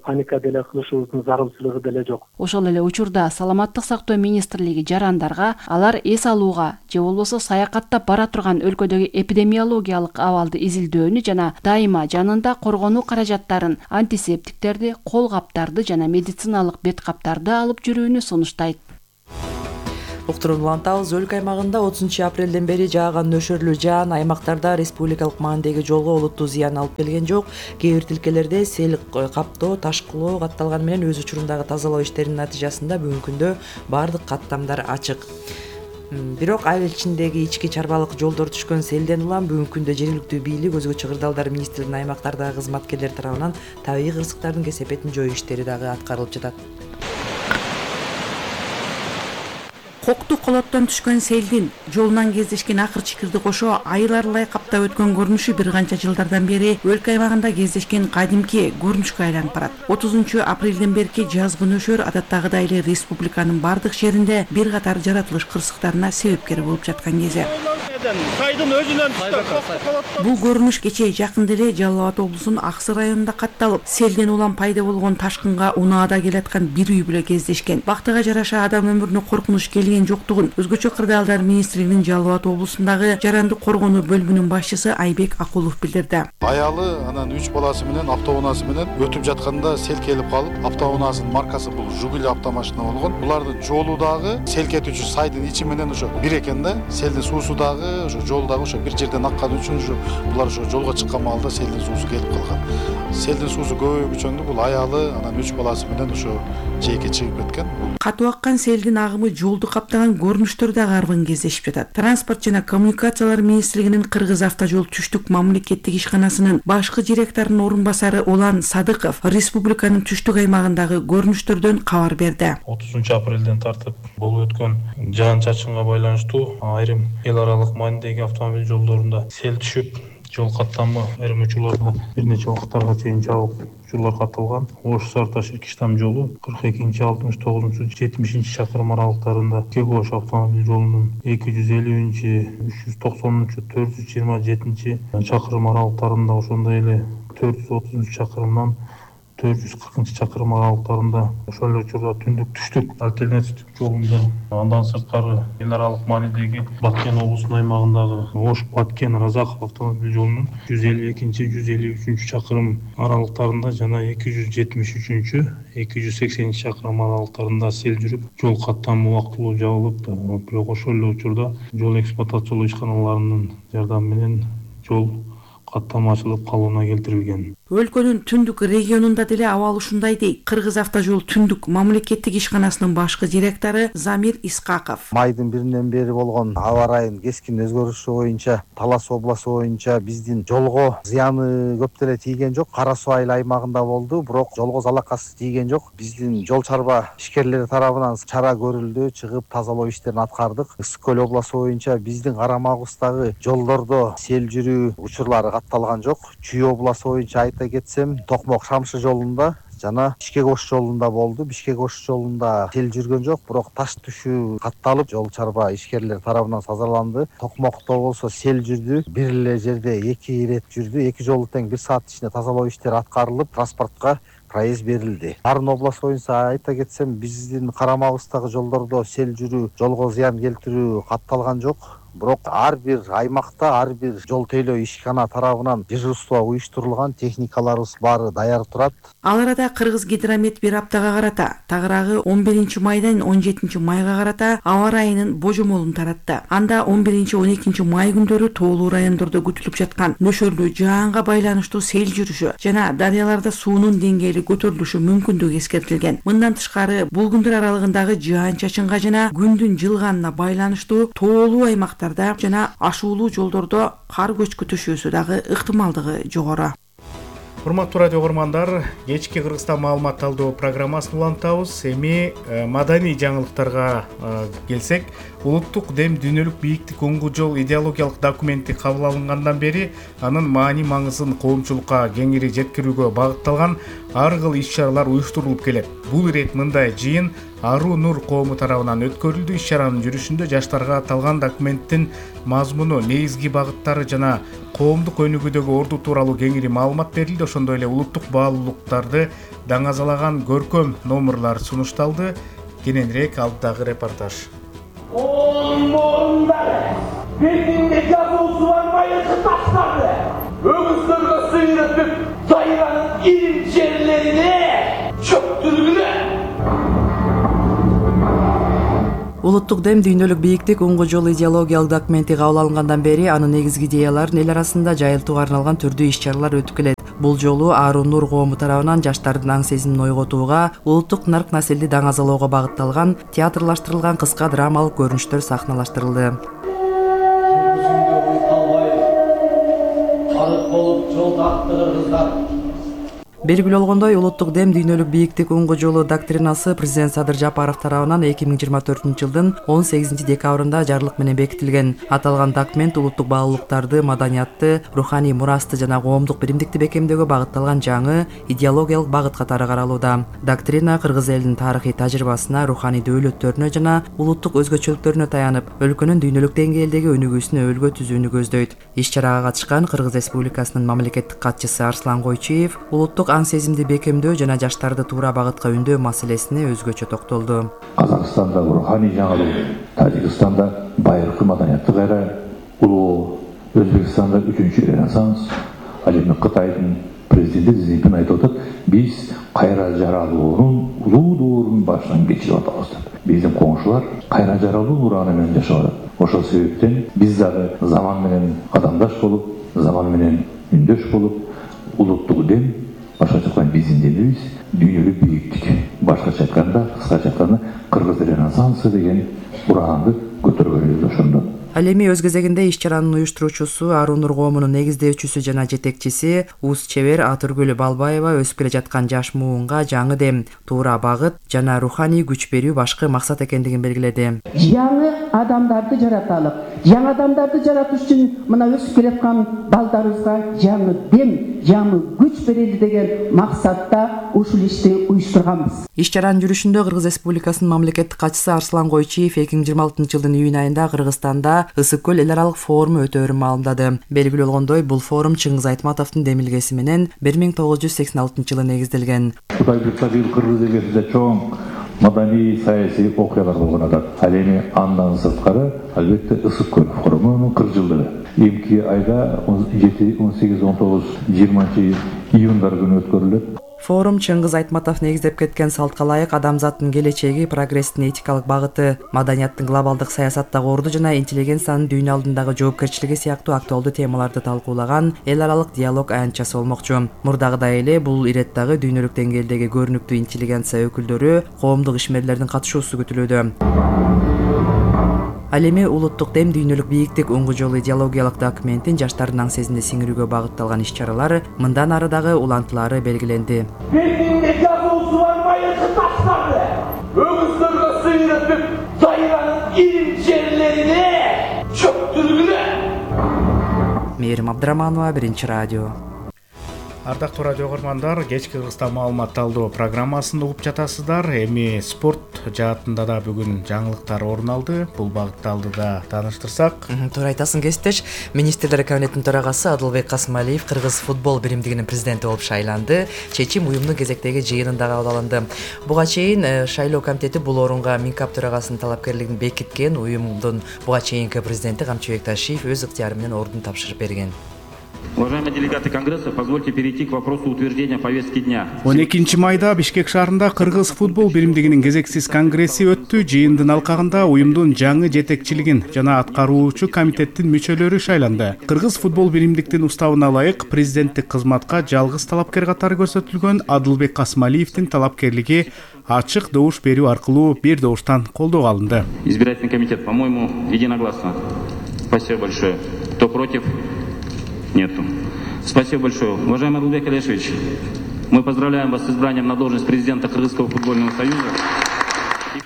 паника деле кылышыбыздын зарылчылыгы деле жок. Ошол эле учурда саламаттык сактоо министрлиги жарандарга алар эс алууга же болбосо саякаттап бара турган өлкөдөгү эпидемиологиялык абалды изилдөөнү жана дайыма жанында коргонуу каражаттарын, антисептиктерди, кол каптарды жана медициналык бет каптарды алып жүрүүнү сунуштайт. Уктуруп улантабыз. Өлкө аймагында отузунчу апрелден бери жааган нөшөрлүү жаан аймактарда республикалык маанидеги жолго олуттуу зыян алып келген жок. Кээ бир тилкелерде сел каптоо, ташкылоо катталганы менен өз учурундагы тазалоо иштеринин натыйжасында бүгүнкү күндө баардык каттамдар ачык. Бирок айыл ичиндеги ички чарбалык жолдор түшкөн селден улам бүгүнкү күндө жергиликтүү бийлик өзгө чыгырдалдар министрлигинин аймактардагы кызматкерлери тарабынан табигый кырсыктардын кесепетин жоюу иштери дагы аткарылып жатат. Кокту колоттон түшкөн селдин жолунан кездешкен акыр чикирди кошо айыл аралай каптап өткөн көрүнүшү бир канча жылдардан бери өлкө аймагында кездешкен кадимки көрүнүшкө айланып барат. отузунчу апрелден берки жазгы нөшөр адаттагыдай эле республиканын бардык шаарында бир катар жаратылыш кырсыктарына себепкер болуп жаткан кези. Сайдын өзүнөн Бул көрүнүш кечээ жакында эле Жалал Абад облусунун Аксы районунда катталып, селден улам пайда болгон ташкынга унаада келаткан бир үй бүлө кездешкен. Бактыга жараша адам өмүрүнө коркунуч келген жоктугун өзгөчө кырдаалдар министрлигинин Жалал Абад облусундагы жарандык коргонуу бөлүмүнүн башчысы Айбек Акулов билдирди. Аялы анан үч баласы менен автоунаасы менен өтүп жатканда сел келип калып, автоунаасынын маркасы бул Жугули автомашина болгон. Булардын жолу дагы селкетүүчү сайдын ичи менен ошо бир экен да. Селдин суусу дагы ошо жолдагы ошо бир жерден аккан үчүн ошо булар ошо жолго чыккан маалда селдин суусу келип калган. Селдин суусу көбөйүп өчөндү бул аялы анан үч баласы менен ошо жээкке чыгып кеткен. Катуу аккан селдин агымы жолду каптаган көрүнүштөр дагы арбын кездешип жатат. Транспорт жана коммуникациялар министрлигинин Кыргыз автожол түштүк мамлекеттик ишканасынын башкы директорунун орун басары Улан Садыков республиканын түштүк аймагындагы көрүнүштөрдөн кабар берди. отузунчу апрелден тартып болуп өткөн жаан чачынга байланыштуу айрым эл аралык маанидеги автомобиль жолдорунда сел түшүп, жол каттамы айрым учурларда бир нече убакыттарга чейин жабык учурлар катталган. Ош Сарташ Иркиштам жолу кырк экинчи алтымыш тогузунчу жетимишинчи чакырым аралыктарында, Кегош автомобиль жолунун эки жүз элүүнчү үч жүз токсонунчу төрт жүз жыйырма жетинчи чакырым аралыктарында, ошондой эле төрт жүз отузунчу чакырымдан төрт жүз кыркынчы чакырым аралыктарында, ошол эле учурда түндүк түштүк альтернативдик жолунда, андан сырткары эл аралык маанидеги Баткен облусунун аймагындагы Ош Баткен Разаков автомобиль жолунун жүз элүү экинчи жүз элүү үчүнчү чакырым аралыктарында жана эки жүз жетимиш үчүнчү эки жүз сексенинчи чакырым аралыктарында сел жүрүп, жол каттамы убактылуу жабылып, бирок ошол эле учурда жол эксплуатациялоо ишканаларынын жардамы менен жол каттама ачылып калууна келтирилген. Өлкөнүн түндүк регионунда деле абал ушундай дейт. Кыргыз автожол түндүк мамлекеттик ишканасынын башкы директору Замир Искаков. Майдын биринен бери болгон аба ырайынын кескин өзгөрүшү боюнча Талас областы боюнча биздин жолго зыяны көп деле тийген жок. Кара Суу айыл аймагында болду, бирок жолго залакасы тийген жок. Биздин жол чарба ишкерлери тарабынан чара көрүлдү, чыгып тазалоо иштерин аткардык. Ысык көл областы боюнча биздин карамагыбыздагы жолдордо сел жүрүү учурлары катталган жок. Чүй областы боюнча айта кетсем, Токмок Шамшы жолунда жана Бишкек Ош жолунда болду. Бишкек Ош жолунда сел жүргөн жок, бирок таш түшүү катталып, жол чарба ишкерлер тарабынан тазаланды. Токмокто болсо сел жүрдү, бир эле жерде эки ирет жүрдү. Эки жолу тең бир саат ичинде тазалоо иштери аткарылып, транспортко проезд берилди. Арын область боюнча айта кетсем, биздин карамагыбыздагы жолдордо сел жүрүү, жолго зыян келтирүү катталган жок. Бирок ар бир аймакта, ар бир жол тейлөө ишкана тарабынан дежурство уюштурулган, техникаларыбыз баары даяр турат. Ал арада Кыргыз Гидромет бир аптага карата, тагыраагы он биринчи майдан он жетинчи майга карата аба ырайынын божомолун таратты. Анда он биринчи он экинчи май күндөрү тоолуу райондордо күтүлүп жаткан нөшөрлүү жаанга байланыштуу сел жүрүшү жана дарыяларда суунун деңгээли көтөрүлүшү мүмкүндүгү эскертилген. Мындан тышкары бул күндөр аралыгындагы жаан чачынга жана күндүн жылганына байланыштуу тоолуу аймактарда жана ашуулуу жолдордо кар көчкү түшүүсү дагы ыктымалдыгы жогору. Урматтуу радио көрөрмандар, кечки Кыргызстан маалымат талдоо программасын улантабыз. Эми маданий жаңылыктарга келсек, улуттук дем дүйнөлүк бийиктик оңгу жол идеологиялык документи кабыл алынгандан бери анын маани маңызын коомчулукка кеңири жеткирүүгө багытталган ар кыл иш-чаралар уюштурулуп келет. Бул ирет мындай жыйын Ару Нур коому тарабынан өткөрүлдү. Иш-чаранын жүрүшүндө жаштарга аталган документтин мазмуну, негизги багыттары жана коомдук өнүгүүдөгү орду тууралуу кеңири маалымат берилди. Ошондой эле улуттук баалуулуктарды даңазалаган көркөм номурлар сунушталды. Кененирээк алдыдагы репортаж. Бетинде жазуусу бар майыркы таштарды өгүздөргө сыйрытып, дайранын ирим жерлерине чөктүргүлө. Улуттук дем дүйнөлүк бийиктик уңгу жолу идеологиялык документи кабыл алынгандан бери анын негизги идеяларын эл арасында жайылтууга арналган түрдүү иш-чаралар өтүп келет. Бул жолу Аарун Нур коому тарабынан жаштардын аң сезимин ойготууга, улуттук нарк населди даңазалоого багытталган театрлаштырылган кыска драмалык көрүнүштөр сахналаштырылды. Белгилүү болгондой, улуттук дем дүйнөлүк бийиктик уңгу жолу доктринасы президент Садыр Жапаров тарабынан эки миң жыйырма төртүнчү жылдын он сегизинчи декабрында жарлык менен бекитилген. Аталган документ улуттук баалуулуктарды, маданиятты, руханий мурасты жана коомдук биримдикти бекемдөөгө багытталган жаңы идеологиялык багыт катары каралууда. Доктрина кыргыз элинин тарыхый тажрыйбасына, руханий дөөлөттөрүнө жана улуттук өзгөчөлүктөрүнө таянып, өлкөнүн дүйнөлүк деңгээлдеги өнүгүүсүнө өбөлгө түзүүнү көздөйт. Иш-чарага катышкан Кыргыз Республикасынын мамлекеттик катчысы Арслан Койчиев улуттук аң сезимди бекемдөө жана жаштарды туура багытка үндөө маселесине өзгөчө токтолду. Казакстанда руханий жаңылуу, Тажикстанда байыркы маданияттык эра, улуу Өзбекстанда үчүнчү ренессанс, ал эми Кытайдын президенти Цзиньпин айтып атат, биз кайра жаралуунун улуу доорунун башынан кечирип атабыз деп. Биздин коңшулар кайра жаралуу нураны менен жашап атат. Ошол себептен биз дагы заман менен адамдаш болуп, заман менен үндөш болуп, улуттук дем, башкача айтканда биздин демибиз дүйнөлүк бийиктик. Башкача айтканда, кыскача айтканда Кыргыз ренессансы деген ураанды көтөргөнүбүз ошондо. Ал эми өз кезегинде иш-чаранын уюштуруучусу, Аарун Нур коомунун негиздөөчүсү жана жетекчиси Уус чебер Атыргүл Балбаева өсүп келе жаткан жаш муунга жаңы дем, туура багыт жана руханий күч берүү башкы максат экендигин белгиледи. Жаңы адамдарды жараталык. Жаңы адамдарды жаратыш үчүн мына өсүп келе жаткан балдарыбызга жаңы дем, жаңы күч берели деген максатта ушул ишти уюштурганбыз. Иш-чаранын жүрүшүндө Кыргыз Республикасынын мамлекеттик катчысы Арслан Койчиев эки миң жыйырма алтынчы жылдын июнь айында Кыргызстанда Ысык көл эл аралык форуму өтөөрүн маалымдады. Белгилүү болгондой, бул форум Чыңгыз Айтматовдун демилгеси менен бир миң тогуз жүз сексен алтынчы жылы негизделген. Кытай бир Кыргыз элинде чоң маданий саясий окуялар болгон атат. Ал эми андан сырткары албетте Ысык көл форумунун кырк жылдыгы. Эмки айда он жети, он сегиз, он тогуз, жыйырманчы июндар күнү өткөрүлөт. Форум Чыңгыз Айтматов негиздеп кеткен салтка ылайык адамзаттын келечеги, прогресстин этикалык багыты, маданияттын глобалдык саясаттагы орду жана интеллигенциянын дүйнө алдындагы жоопкерчилиги сыяктуу актуалдуу темаларды талкуулаган эл аралык диалог аянтчасы болмокчу. Мурдагыдай эле бул иреттагы дүйнөлүк деңгээлдеги көрүнүктүү интеллигенция өкүлдөрү, коомдук ишмерлердин катышуусу күтүлүүдө. Ал эми улуттук дем дүйнөлүк бийиктик уңгу жолу идеологиялык документин жаштардын аң сезимди сиңирүүгө багытталган иш-чаралар мындан ары дагы улантылары белгиленди. Бетинде жазуусу бар майыркы таштарды өгүздөргө сыйрытып, дайранын ирим жерлерине чөктүргүлө. Мээрим Абдыраманова, Биринчи радио. Ардактуу радио көргөндөр, кечки Кыргызстан маалымат талдоо программасын угуп жатасыздар. Эми спорт жаатында да бүгүн жаңылыктар орун алды. Бул багытты алдыда тааныштырсак. Туура айтасың, кесиптеш. Министрлер кабинетинин төрагасы Адылбек Касымалиев Кыргыз футбол биримдигинин президенти болуп шайланды. Чечим уюмдун кезектеги жыйынында кабыл алынды. Буга чейин шайлоо комитети бул орунга Минкап төрагасынын талапкерлигин бекиткен. Уюмдун буга чейинки президенти Камчыбек Ташиев өз ыктыяры менен ордун тапшырып берген. Уважаемые делегаты Конгресса, позвольте перейти к вопросу утверждения повестки дня. он экинчи майда Бишкек шаарында Кыргыз футбол биримдигинин кезексиз конгресси өттү. Жыйындын алкагында уюмдун жаңы жетекчилигин жана аткаруучу комитеттин мүчөлөрү шайланды. Кыргыз футбол биримдиктин уставына ылайык президенттик кызматка жалгыз талапкер катары көрсөтүлгөн Адылбек Касымалиевдин талапкерлиги ачык добуш берүү аркылуу бир добуштан колдоого алынды. Избирательный комитет, по-моему, единогласно. Спасибо большое. Кто против? Нету. Спасибо большое. Уважаемый Адылбек Алешевич, мы поздравляем вас с избранием на должность президента Кыргызского футбольного союза.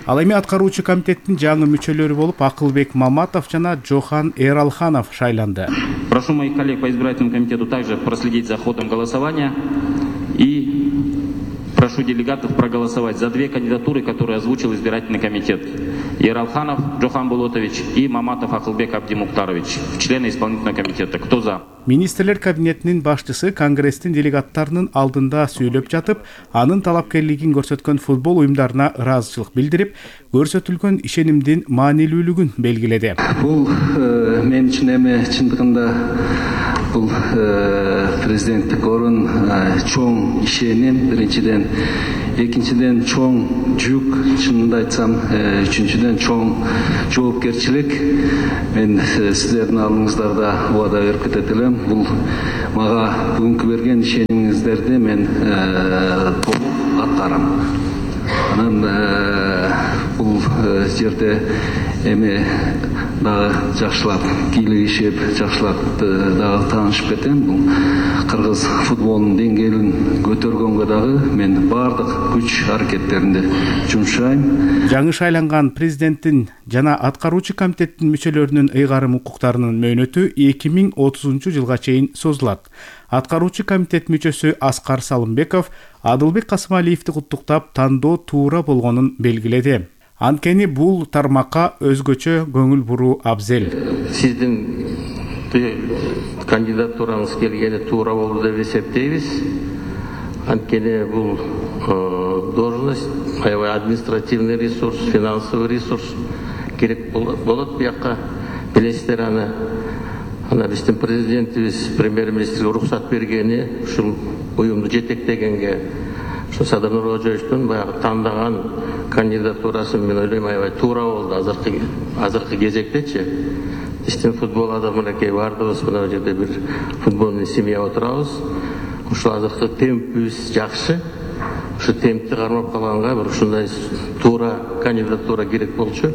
Ал эми аткаруучу комитеттин жаңы мүчөлөрү болуп Акылбек Маматов жана Жохан Эралханов шайланды. Прошу моих коллег по избирательному комитету также проследить за ходом голосования и прошу делегатов проголосовать за две кандидатуры, которые озвучил избирательный комитет. Ералханов Джохан Болотович и Маматов Акылбек Абдимуктарович, члены исполнительного комитета. Кто за? Министрлер кабинетинин башчысы Конгресстин делегаттарынын алдында сүйлөп жатып, анын талапкерлигин көрсөткөн футбол уюмдарына ыраазычылык билдирип, көрсөтүлгөн ишенимдин маанилүүлүгүн белгиледи. Бул мен үчүн эми чындыгында бул президенттик орун чоң ишеним, биринчиден, экинчиден чоң жүк, чынында айтсам, үчүнчүдөн чоң жоопкерчилик. Мен сиздердин алдыңыздарда убада берип кетет элем. Бул мага бүгүнкү берген ишенимиңиздерди мен толук аткарам. Анан бул жерде эми дагы жакшылап кийлигишип, жакшылап дагы таанышып кетем. Бул кыргыз футболунун деңгээлин көтөргөнгө дагы мен баардык күч аракеттеримди жумшайм. Жаңы шайланган президенттин жана аткаруучу комитеттин мүчөлөрүнүн ыйгарым укуктарынын мөөнөтү эки миң отузунчу жылга чейин созулат. Аткаруучу комитет мүчөсү Аскар Салымбеков Адылбек Касымалиевди куттуктап, тандоо туура болгонун белгиледи. Анткени бул тармакка өзгөчө көңүл буруу абзел. Сиздин кандидатураңыз келгени туура болду деп эсептейбиз. Анткени бул должность, аябай административный ресурс, финансовый ресурс керек болот буякка. Билесиздер аны ана биздин президентибиз премьер-министрге уруксат бергени, ушул уюмду жетектегенге, ушу Садыр Нуркожоевичтин баягы тандаган кандидатурасын мен ойлойм аябай туура болду азыркы азыркы кезектечи. Биздин футбол адамдарыкей баардыгыбыз мына жерде бир футбольный семья отурабыз. Ушул азыркы темпибиз жакшы. Ушу темпти кармап калганга бир ушундай туура кандидатура керек болчу.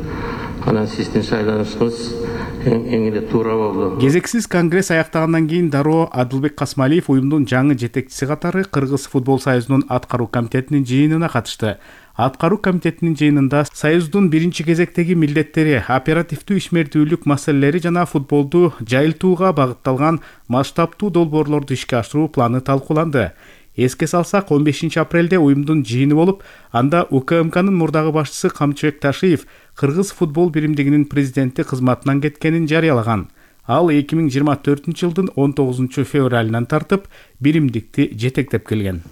Анан сиздин шайланышыңыз эң эле туура болду. Кезексиз конгресс аяктагандан кийин дароо Адылбек Касымалиев уюмдун жаңы жетекчиси катары Кыргыз футбол союзунун аткаруу комитетинин жыйынына катышты. Аткаруу комитетинин жыйынында союздун биринчи кезектеги милдеттери, оперативдүү ишмердүүлүк маселелери жана футболду жайылтууга багытталган масштабтуу долбоорлорду ишке ашыруу планы талкууланды. Эске салсак, он бешинчи апрелде уюмдун жыйыны болуп, анда УКМКнын мурдагы башчысы Камчыбек Ташиев Кыргыз футбол биримдигинин президенти кызматынан кеткенин жарыялаган. Ал эки миң жыйырма төртүнчү жылдын он тогузунчу февралынан тартып биримдикти жетектеп келген.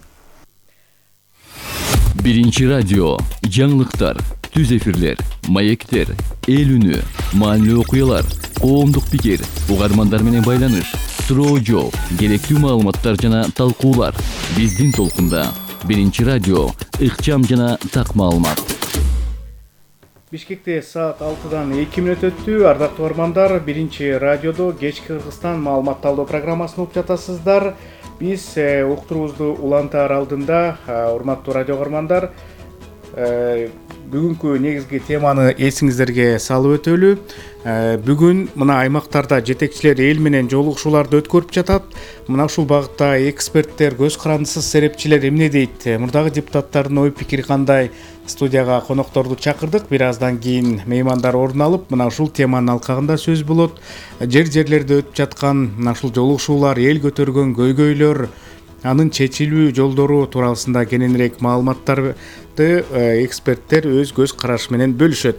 Биринчи радио, жаңылыктар, түз эфирлер, маектер, эл үнү, маанилүү окуялар, коомдук пикир, угармандар менен байланыш, суроо жооп, керектүү маалыматтар жана талкуулар. Биздин толкунда Биринчи радио, ыкчам жана так маалымат. Бишкекте саат алтыдан эки мүнөт өттү. Ардактуу угармандар, Биринчи радиодо кечки Кыргызстан маалыматталдоо программасын угуп жатасыздар. Биз уктуруубузду улантаар алдында, урматтуу радио угармандар, бүгүнкү негизги теманы эсиңиздерге салып өтөлү. Бүгүн мына аймактарда жетекчилер эл менен жолугушууларды өткөрүп жатат. Мына ушул багытта эксперттер, көз карандысыз серепчилер эмне дейт? Мурдагы депутаттардын ой пикири кандай? Студияга конокторду чакырдык. Бир аздан кийин меймандар орун алып, мына ушул теманын алкагында сөз болот. Жер-жерлерде өтүп жаткан мына ушул жолугушуулар, эл көтөргөн көйгөйлөр, анын чечилүү жолдору туурасында кененирээк маалыматтарды эксперттер өз көз карашы менен бөлүшөт.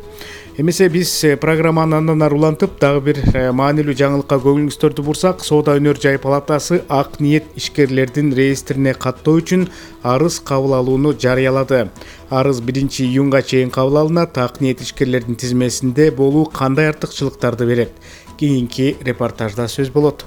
Эмесе биз программаны андан ары улантып, дагы бир маанилүү жаңылыкка көңүлүңүздөрдү бурсак, Соода өнөр жай палатасы ак ниет ишкерлердин реестрине каттоо үчүн арыз кабыл алууну жарыялады. Арыз биринчи июнга чейин кабыл алынат. Ак ниет ишкерлердин тизмесинде болуу кандай артыкчылыктарды берет? Кийинки репортажда сөз болот.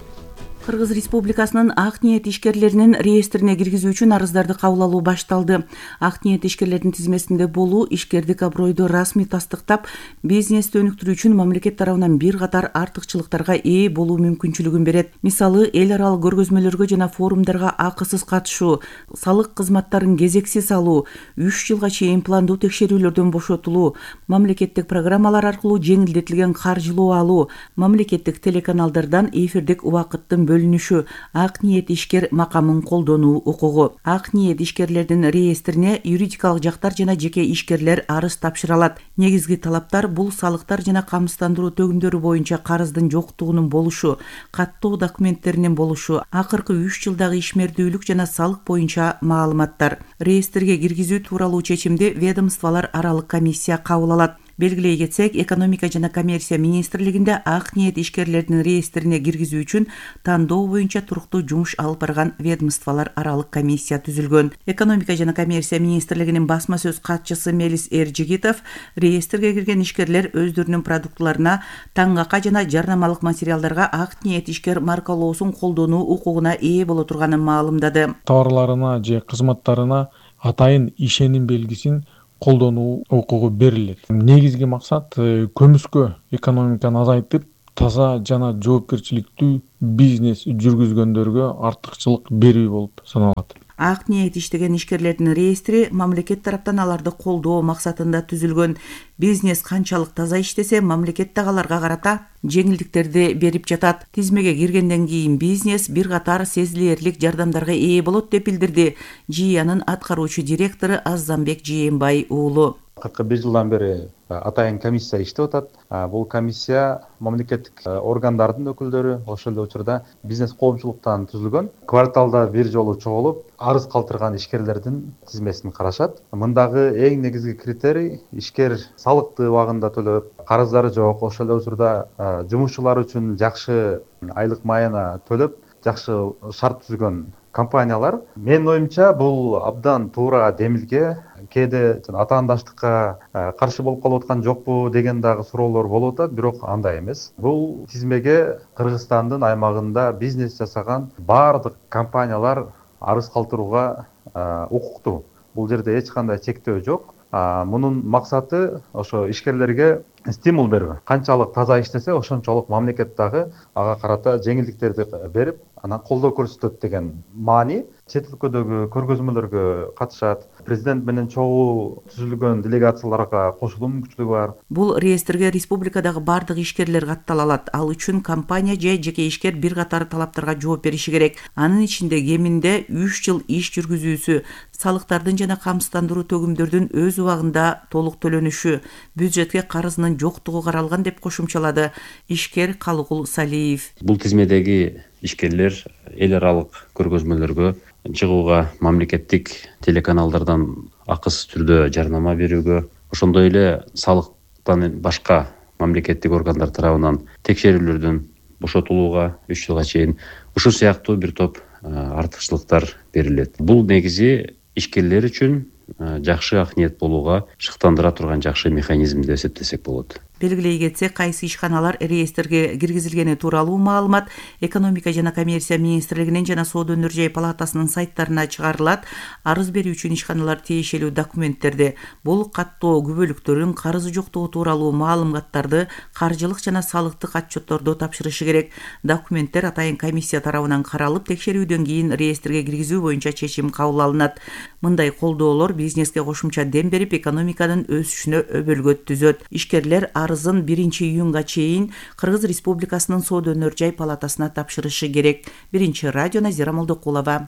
Кыргыз Республикасынын ак ниет ишкерлеринин реестрине киргизүү үчүн арыздарды кабыл алуу башталды. Ак ниет ишкерлердин тизмесинде болуу ишкердик абройду расмий тастыктап, бизнести өнүктүрүү үчүн мамлекет тарабынан бир катар артыкчылыктарга ээ болуу мүмкүнчүлүгүн берет. Мисалы, эл аралык көргөзмөлөргө жана форумдарга акысыз катышуу, салык кызматтарын кезексиз алуу, үч жылга чейин пландуу текшерүүлөрдөн бошотулуу, мамлекеттик программалар аркылуу жеңилдетилген каржылоо алуу, мамлекеттик телеканалдардан эфирдик убакыттын бөлүнүшү, ак ниет ишкер макамын колдонуу укугу. Ак ниет ишкерлердин реестрине юридикалык жактар жана жеке ишкерлер арыз тапшыра алат. Негизги талаптар бул салыктар жана камсыздандыруу төгүмдөрү боюнча карыздын жоктугунун болушу, каттоо документтеринин болушу, акыркы үч жылдагы ишмердүүлүк жана салык боюнча маалыматтар. Реестрге киргизүү тууралуу чечимди ведомстволор аралык комиссия кабыл алат. Белгилей кетсек, экономика жана коммерция министрлигинде ак ниет ишкерлердин реестрине киргизүү үчүн тандоо боюнча туруктуу жумуш алып барган ведомстволор аралык комиссия түзүлгөн. Экономика жана коммерция министрлигинин басма сөз катчысы Мелис Эржигитов реестрге кирген ишкерлер өздөрүнүн продуктыларына таңакка жана жарнамалык материалдарга ак ниет ишкер маркалоосун колдонуу укугуна ээ боло турганын маалымдады. Товарларына же кызматтарына атайын ишеним белгисин колдонуу укугу берилет. Негизги максат көмүскө экономиканы азайтып, таза жана жоопкерчиликтүү бизнес жүргүзгөндөргө артыкчылык берүү болуп саналат. Ак ниет иштеген ишкерлердин реестри мамлекет тараптан аларды колдоо максатында түзүлгөн. Бизнес канчалык таза иштесе, мамлекет да аларга карата жеңилдиктерди берип жатат. Тизмеге киргенден кийин бизнес бир катар сезилэрлик жардамдарга ээ болот деп билдирди ЖИАнын аткаруучу директору Азамбек Жээнбай уулу. кыркы бир жылдан бери атайын комиссия иштеп атат. Бул комиссия мамлекеттик органдардын өкүлдөрү, ошол эле учурда бизнес коомчулуктан түзүлгөн. Кварталда бир жолу чогулуп, арыз калтырган ишкерлердин тизмесин карашат. Мындагы эң негизги критерий ишкер салыкты убагында төлөп, карыздары жок, ошол эле учурда жумушчулар үчүн жакшы айлык майына төлөп, жакшы шарт түзгөн компаниялар. Менин оюмча бул абдан туура демилге. Кээде атаандаштыкка каршы болуп калып аткан жокпу деген дагы суроолор болуп атат, бирок андай эмес. Бул тизмеге Кыргызстандын аймагында бизнес жасаган баардык компаниялар арыз калтырууга укуктуу. Бул жерде эч кандай чектөө жок. Мунун максаты ошо ишкерлерге стимул берүү. Канчалык таза иштесе, ошончолук мамлекет дагы ага карата жеңилдиктерди берип, анан колдоо көрсөтөт деген маани. Чет өлкөдөгү көргөзмөлөргө катышат. Президент менен чогуу түзүлгөн делегацияларга кошулуу мүмкүнчүлүгү бар. Бул реестрге республикадагы бардык ишкерлер каттала алат. Ал үчүн компания же жеке ишкер бир катар талаптарга жооп бериши керек. Анын ичинде кеминде үч жыл иш жүргүзүүсү, салыктардын жана камсыздандыруу төгүмдөрдүн өз убагында толук төлөнүшү, бюджетке карызынын жоктугу каралган деп кошумчалады ишкер Калыгул Салиев. Бул тизмедеги ишкерлер эл аралык көргөзмөлөргө чыгууга, мамлекеттик телеканалдардан акысыз түрдө жарнама берүүгө, ошондой эле салыктан башка мамлекеттик органдар тарабынан текшерүүлөрдөн бошотулууга үч жылга чейин ушул сыяктуу бир топ артыкчылыктар берилет. Бул негизи ишкерлер үчүн жакшы ак ниет болууга шыктандыра турган жакшы механизм деп эсептесек болот. Белгилей кетсек, кайсы ишканалар реестрге киргизилгени тууралуу маалымат экономика жана коммерция министрлигинин жана Соода өнөр жай палатасынын сайттарына чыгарылат. Арыз берүү үчүн ишканалар тиешелүү документтерди, бул каттоо күбөлүктөрүн, карызы жоктугу тууралуу маалыматтарды, каржылык жана салыктык отчетторду тапшырышы керек. Документтер атайын комиссия тарабынан каралып, текшерүүдөн кийин реестрге киргизүү боюнча чечим кабыл алынат. Мындай колдоолор бизнеске кошумча дем берип, экономиканын өсүшүнө өбөлгө түзөт. Ишкерлер арызын биринчи июнга чейин Кыргыз Республикасынын Соода өнөр жай палатасына тапшырышы керек. Биринчи радио Назира Молдокулова.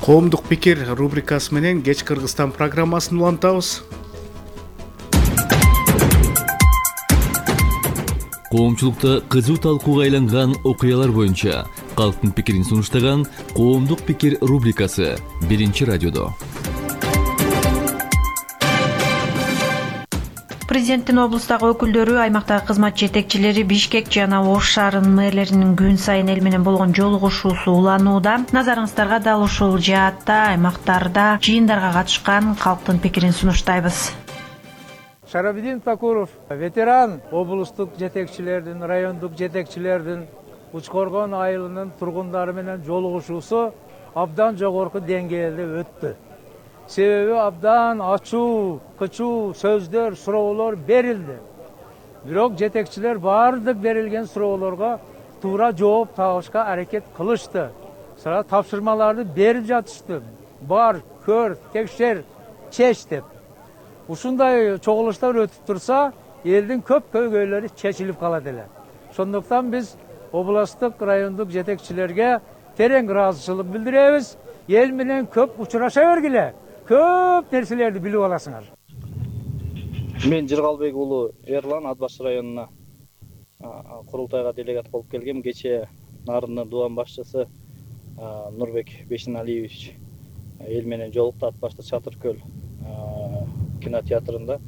Коомдук пикир рубрикасы менен кеч Кыргызстан программасын улантабыз. Коомчулукта кызуу талкууга айланган окуялар боюнча калктын пикирин сунуштаган Коомдук пикир рубрикасы биринчи радиодо. Президенттин облустагы өкүлдөрү, аймактагы кызмат жетекчилери Бишкек жана Ош шаарынын мэрлеринин күн сайын эл менен болгон жолугушуусу уланууда. Назарыңыздарга дал ушул жаатта аймактарда жыйындарга катышкан калктын пикирин сунуштайбыз. Шарабидин Такуров ветеран облустук жетекчилердин, райондук жетекчилердин Учкоргон айылынын тургундары менен жолугушуусу абдан жогорку деңгээлде өттү. Себеби абдан ачуу, кычуу сөздөр, суроолор берилди. Бирок жетекчилер бардык берилген суроолорго туура жооп табышка аракет кылышты. Сара тапшырмаларды берип жатышты. Бар, көр, текшер, чеч деп. Ушундай чогулуштар өтүп турса, элдин көп көйгөйлөрү чечилип калат эле. Ошондуктан биз областык, райондук жетекчилерге терең ыраазычылык билдиребиз. Эл менен көп учураша бергиле. Көп нерселерди билип аласыңар. Мен Жыргалбек уулу Эрлан Ат Баш районуна курултайга делегат болуп келгем. Кечээ Нарынды дубан башчысы Нурбек Бешеналиевич эл менен жолукту Ат Башта Чатыркөл кинотеатрында.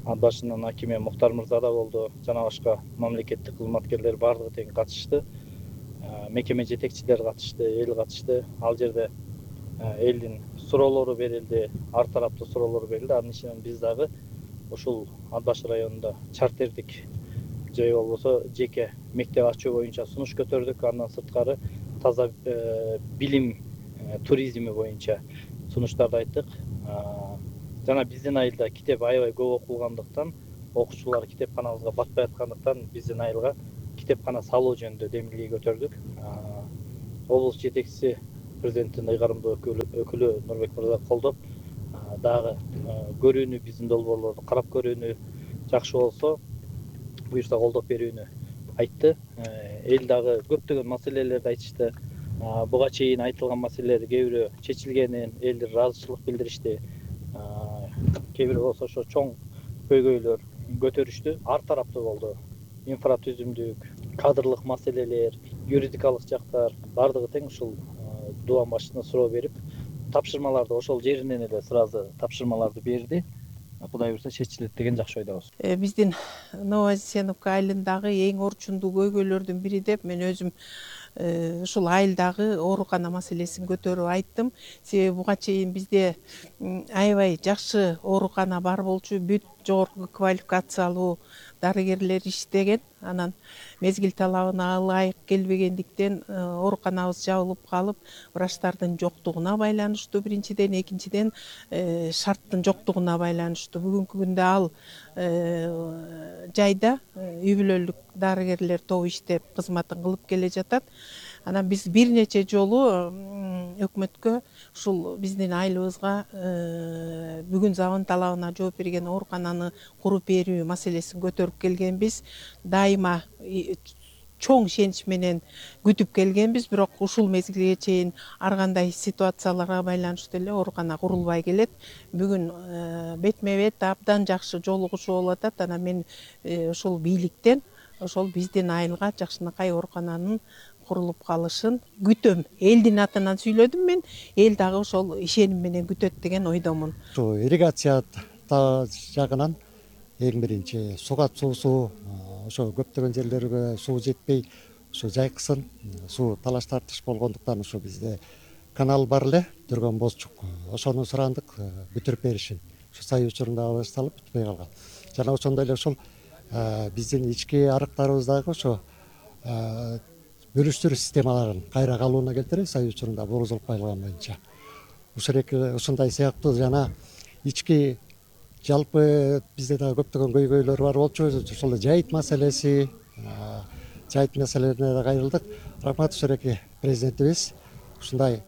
ат башынын акими Муктар мырза да болду, жана башка мамлекеттик кызматкерлер баардыгы тең катышты. Мекеме жетекчилери катышты, эл катышты. Ал жерде элдин суроолору берилди, ар тараптуу суроолор берилди. Анын ичинен биз дагы ушул Ат башы районунда чартердик же болбосо жеке мектеп ачуу боюнча сунуш көтөрдүк. Андан сырткары таза билим туризми боюнча сунуштарды айттык. Жана биздин айылда китеп аябай көп окулгандыктан, окуучулар китепканабызга батпай аткандыктан биздин айылга китепкана салуу жөнүндө демилге көтөрдүк. Облус жетекчиси президенттин ыйгарымдуу өкүлү Нурбек мырза колдоп, дагы көрүүнү, биздин долбоорлорду карап көрүүнү, жакшы болсо буюрса колдоп берүүнү айтты. Эл дагы көптөгөн маселелерди айтышты. Буга чейин айтылган маселелер кээ бирөө чечилгенин элдер ыраазычылык билдиришти. Кээ бирөө болсо ошо чоң көйгөйлөр көтөрүштү. Ар тараптуу болду. Инфратүзүмдүк, кадрлык маселелер, юридикалык жактар баардыгы тең ушул дубан башчысына суроо берип, тапшырмаларды ошол жеринен эле сразу тапшырмаларды берди. Кудай буюрса чечилет деген жакшы ойдобуз. Биздин Новозеновка айылындагы эң орчундуу көйгөйлөрдүн бири деп мен өзүм ушул айылдагы оорукана маселесин көтөрүп айттым. Себеби буга чейин бизде аябай жакшы оорукана бар болчу, бүт жогорку квалификациялуу дарыгерлер иштеген. Анан мезгил талабына ылайык келбегендиктен ооруканабыз жабылып калып, врачтардын жоктугуна байланыштуу биринчиден, экинчиден шарттын жоктугуна байланыштуу. Бүгүнкү күндө ал жайда үй бүлөлүк дарыгерлер тобу иштеп кызматын кылып келе жатат. Анан биз бир нече жолу өкмөткө ушул биздин айылыбызга бүгүн заман талабына жооп берген оорукананы куруп берүү маселесин көтөрүп келгенбиз. Дайыма чоң ишенич менен күтүп келгенбиз, бирок ушул мезгилге чейин ар кандай ситуацияларга байланыштуу эле оорукана курулбай келет. Бүгүн бетме бет абдан жакшы жолугушуу болуп атат. Анан мен ушул бийликтен ошол биздин айылга жакшынакай оорукананын курулуп калышын күтөм. Элдин атынан сүйлөдүм мен, эл дагы ошол ишеним менен күтөт деген ойдомун. Ошо ирригация жагынан эң биринчи сугат суусу, ошо көптөгөн жерлерге суу жетпей, ошо жайкысын, суу талаш тартыш болгондуктан ошо бизде канал бар эле, Дүргөн Бозчук. Ошону сурандык бүтүрүп беришин. Ошо сай учурунда башталып бүтпөй калган. Жана ошондой эле ушул биздин ички арыктарыбыздагы ошо бөлүштүрүү системаларын кайра калууна келтирип, сай учурунда борозолуп калган боюнча. Ушундай сыяктуу жана ички жалпы бизде дагы көптөгөн көйгөйлөр бар болчу. Ошол жайыт маселеси, жайыт маселелерине да кайрылдык. Рахмат ушуреки президентибиз ушундай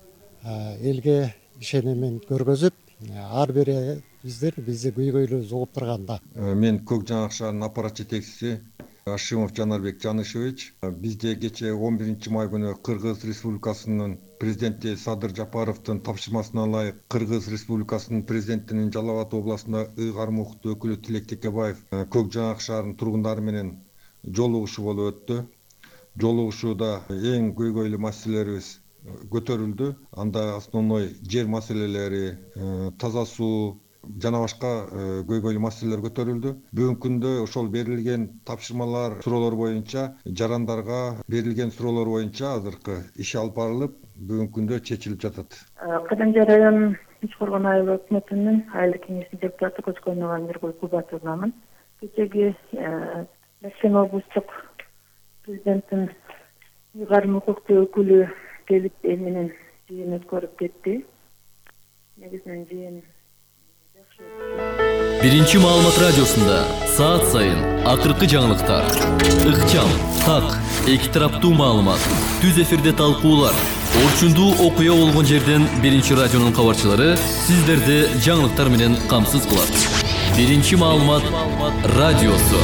элге ишенимин көргөзүп, ар бири биздер бизди көйгөйлөрүбүздү угуп турганда. Мен Көк Жаңак шаарынын аппарат жетекчиси Ашимов Жанарбек Жанышевич. Бизде кечээ он биринчи май күнү Кыргыз Республикасынын президенти Садыр Жапаровдун тапшырмасына ылайык Кыргыз Республикасынын президентинин Жалал Абад областында ыйгарым укуктуу өкүлү Тилек Текебаев Көк Жаңак шаарынын тургундары менен жолугушуу болуп өттү. Жолугушууда эң көйгөйлүү маселелерибиз көтөрүлдү. Анда основной жер маселелери, таза суу жана башка көйгөйлүү маселелер көтөрүлдү. Бүгүнкү күндө ошол берилген тапшырмалар, суроолор боюнча, жарандарга берилген суроолор боюнча азыркы иш алып барылып, бүгүнкү күндө чечилип жатат. Кадымжы район Үч Коргон айыл өкмөтүнүн айылдык кеңешинин депутаты Көчкөнова Миргүл Кубатовнамын. Кечеги Башкын облустук президенттин ыйгарым укуктуу өкүлү келип эл менен жыйын өткөрүп кетти. Негизинен жыйын Биринчи маалымат радиосунда саат сайын акыркы жаңылыктар, ыкчам, так, эки тараптуу маалымат, түз эфирде талкуулар, орчундуу окуя болгон жерден Биринчи радионун кабарчылары сиздерди жаңылыктар менен камсыз кылат. Биринчи маалымат радиосу.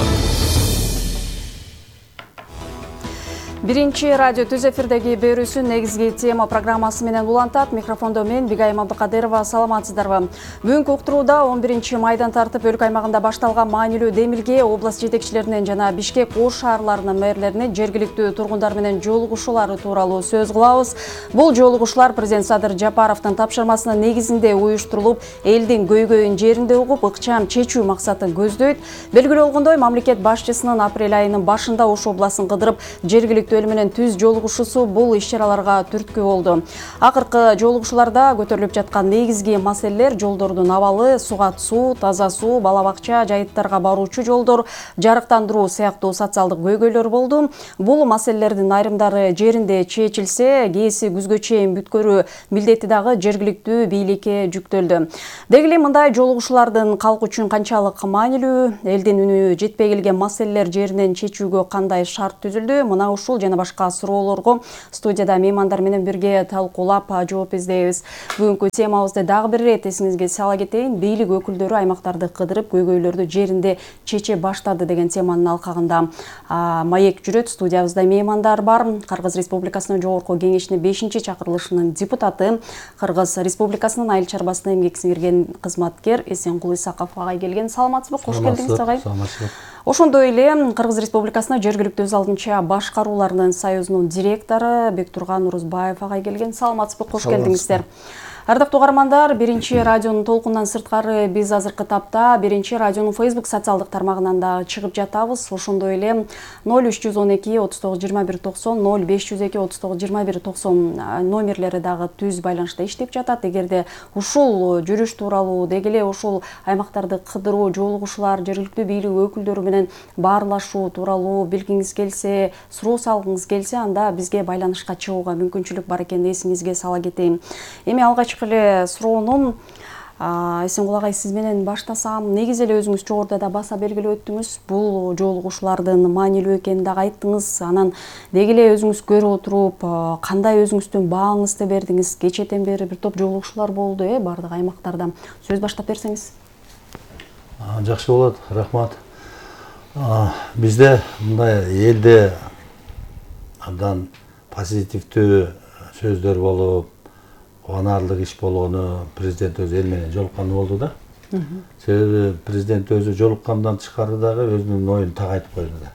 Биринчи радио түз эфирдеги берүүсүн негизги тема программасы менен улантат. Микрофондо мен Бигайым Абдыкадырова. Саламатсыздарбы? Бүгүнкү уктурууда он биринчи майдан тартып өлкө аймагында башталган маанилүү демилге область жетекчилеринен жана Бишкек ош шаарларынын мэрлеринин жергиликтүү тургундар менен жолугушуулары тууралуу сөз кылабыз. Бул жолугушуулар президент Садыр Жапаровдун тапшырмасынын негизинде уюштурулуп, элдин көйгөйүн жеринде угуп, ыкчам чечүү максатын көздөйт. Белгилүү болгондой, мамлекет башчысынын апрель айынын башында Ош областын кыдырып, жергиликтүү эл менен түз жолугушуусу бул иш-чараларга түрткү болду. Акыркы жолугушууларда көтөрүлүп жаткан негизги маселелер жолдордун абалы, сугат суу, таза суу, бала бакча, жайыттарга баруучу жолдор, жарыктандыруу сыяктуу социалдык көйгөйлөр болду. Бул маселелердин айрымдары жеринде чечилсе, кээси күзгө чейин бүткөрүү милдети дагы жергиликтүү бийликке жүктөлдү. Деги эле мындай жолугушуулардын калк үчүн канчалык маанилүү, элдин үнү жетпей келген маселелер жеринен чечүүгө кандай шарт түзүлдү? Мына ушул жана башка суроолорго студияда меймандар менен бирге талкуулап жооп издейбиз. Бүгүнкү темабызды дагы бир ирет эсиңизге сала кетейин. Бийлик өкүлдөрү аймактарды кыдырып, көйгөйлөрдү жеринде чече баштады деген теманын алкагында маек жүрөт. Студиябызда меймандар бар. Кыргыз Республикасынын жогорку кеңешине бешинчи чакырылышынын депутаты, Кыргыз Республикасынын айыл чарбасына эмгек сиңирген кызматкер Эсенкул Исаков агай келген. Саламатсызбы? Кош келдиңиз агай. Ошондой эле Кыргыз Республикасына жергиликтүү өз алдынча башкаруулардын союзунун директору Бектурган Урузбаев агай келген. Саламатсызбы? Кош келдиңиздер. Ардактуу угармандар, биринчи радионун толкундан сырткары биз азыркы тапта биринчи радионун Facebook социалдык тармагынан да чыгып жатабыз. Ошондой эле ноль үч жүз он эки отуз тогуз жыйырма бир токсон, ноль беш жүз эки отуз тогуз жыйырма бир токсон номерлери дагы түз байланышта иштеп жатат. Эгерде ушул жүрүш тууралуу, деги эле ушул аймактарды кыдыруу, жолугушуулар, жергиликтүү бийлик өкүлдөрү менен баарлашуу тууралуу билгиңиз келсе, суроо салгыңыз келсе, анда бизге байланышка чыгууга мүмкүнчүлүк бар экенин эсиңизге сала кетейин. Эми алгач эле суроонун Эсенкул агай сиз менен баштасам. Негизи эле өзүңүз жогоруда да баса белгилеп өттүңүз. Бул жолугушуулардын маанилүү экенин дагы айттыңыз. Анан деги эле өзүңүз көрүп отуруп, кандай өзүңүздүн бааңызды бердиңиз? Кечээден бери бир топ жолугушуулар болду, э, бардык аймактарда. Сөз баштап берсеңиз. Жакшы болот, рахмат. Бизде мындай элде абдан позитивдүү сөздөр болуп, кубанарлык иш болгону, президент өзү эл менен жолукканы болду да. Себеби президент өзү жолуккандан тышкары дагы өзүнүн оюн так айтып койду да.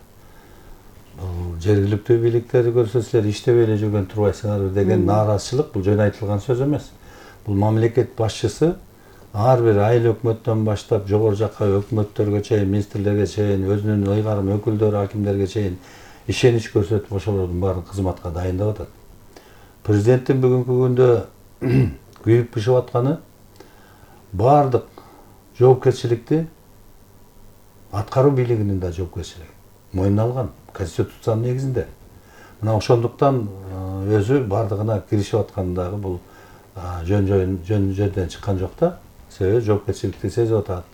Бул жергиликтүү бийликтерди көрсөтсөлөр иштебей эле жүргөн турбайсыңарбы деген нааразычылык бул жөн айтылган сөз эмес. Бул мамлекет башчысы ар бир айыл өкмөттөн баштап жогору жакка өкмөттөргө чейин, министрлерге чейин, өзүнүн ыйгарым өкүлдөрү, акимдерге чейин ишенич көрсөтүп ошолордун баарын кызматка дайындап атат. Президенттин бүгүнкү күндө күйүп бышып атканы баардык жоопкерчиликти аткаруу бийлигинин да жоопкерчилиги мойнуна алган конституциянын негизинде. Мына ошондуктан өзү баардыгына киришип атканы дагы бул жөн жөн жерден чыккан жок да. Себеби жоопкерчиликти сезип атат.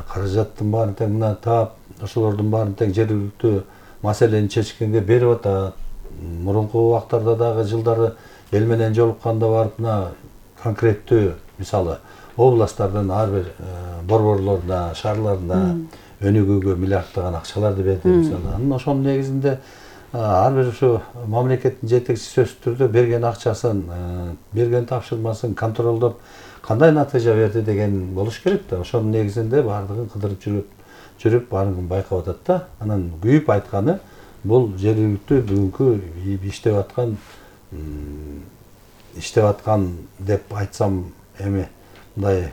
Каражаттын баарын тең мына таап, ошолордун баарын тең жергиликтүү маселени чечкенге берип атат. Мурунку убактарда дагы жылдары эл менен жолукканда барып мына конкреттүү мисалы областтардын ар бир борборлоруна, шаарларына өнүгүүгө миллиарддаган акчаларды берди мисалы. Анан ошонун негизинде ар бир ушу мамлекеттин жетекчиси сөзсүз түрдө берген акчасын, берген тапшырмасын контролдоп кандай натыйжа берди деген болуш керек да. Ошонун негизинде баардыгын кыдырып жүрүп, жүрүп баарын байкап атат да. Анан күйүп айтканы бул жергиликтүү бүгүнкү иштеп аткан иштеп аткан деп айтсам эми мындай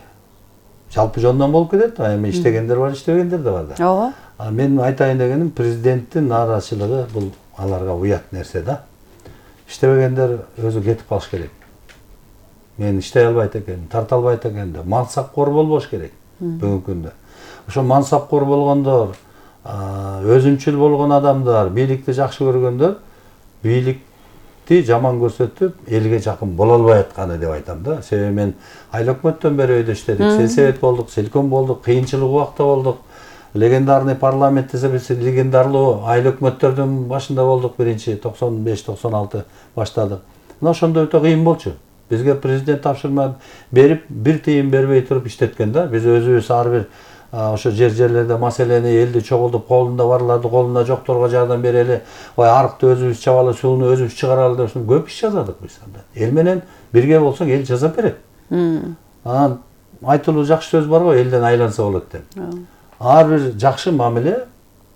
жалпы жондан болуп кетет. Эми иштегендер бар, иштебегендер да бар да. Ооба. Мен айтайын дегеним президенттин нааразычылыгы бул аларга уят нерсе да. Иштебегендер өзү кетип калыш керек. Мен иштей албайт экенмин, тарта албайт экенмин деп мансапкор болбош керек бүгүнкү күндө. Ошо мансапкор болгондор, өзүнчүл болгон адамдар, бийликти жакшы көргөндөр бийликти жаман көрсөтүп элге жакын боло албай атканы деп айтам да. Себеби мен айыл өкмөттөн бери өйдө иштедик, сельсовет болдук, селком болдук, кыйынчылык убакта болдук. Легендарный парламент десебиз легендарлуу айыл өкмөттөрдүн башында болдук, биринчи токсон беш токсон алты баштадык. Мына ошондо өтө кыйын болчу. Бизге президент тапшырма берип, бир тыйын бербей туруп иштеткен да. Биз өзүбүз ар бир ошо жер жерлерде маселени элди чогултуп колунда барларды колунда жокторго жардам берели, ой арыкты өзүбүз чабалы, сууну өзүбүз чыгаралы деп көп иш жазадык биз анда. Эл менен бирге болсоң эл жасап берет. Анан айтылуу жакшы сөз бар го, элден айланса болот деп. Ар бир жакшы мамиле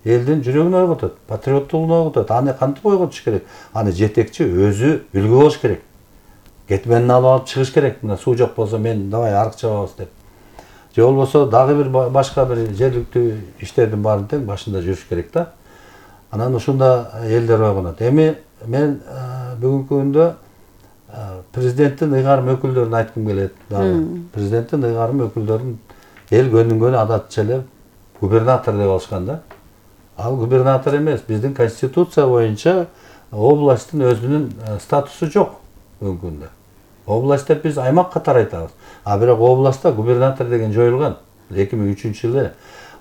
элдин жүрөгүн ойготот, патриоттугун ойготот. Аны кантип ойготуш керек? Аны жетекчи өзү үлгү болуш керек. Кетменин алып алып чыгыш керек. Мына суу жок болсо мен давай арык чабабыз деп. Же болбосо дагы бир башка бир жергиликтүү иштердин баарын тең башында жүрүш керек да. Анан ушунда элдер ойгонот. Эми мен бүгүнкү күндө президенттин ыйгарым өкүлдөрүн айткым келет дагы. Президенттин ыйгарым өкүлдөрүн эл көнүнгөнү адатча эле губернатор деп алышкан да. Ал губернатор эмес, биздин конституция боюнча областтын өзүнүн статусу жок бүгүнкү күндө. Область деп биз аймак катары айтабыз. А бирок областта губернатор деген жоюлган эки миң үчүнчү жылы.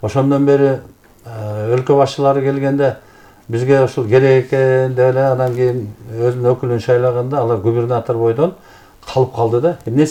Ошондон бери өлкө башчылары келгенде бизге ушул керек экен деп эле анан кийин өзүнүн өкүлүн шайлаганда алар губернатор бойдон калып калды да. Эмне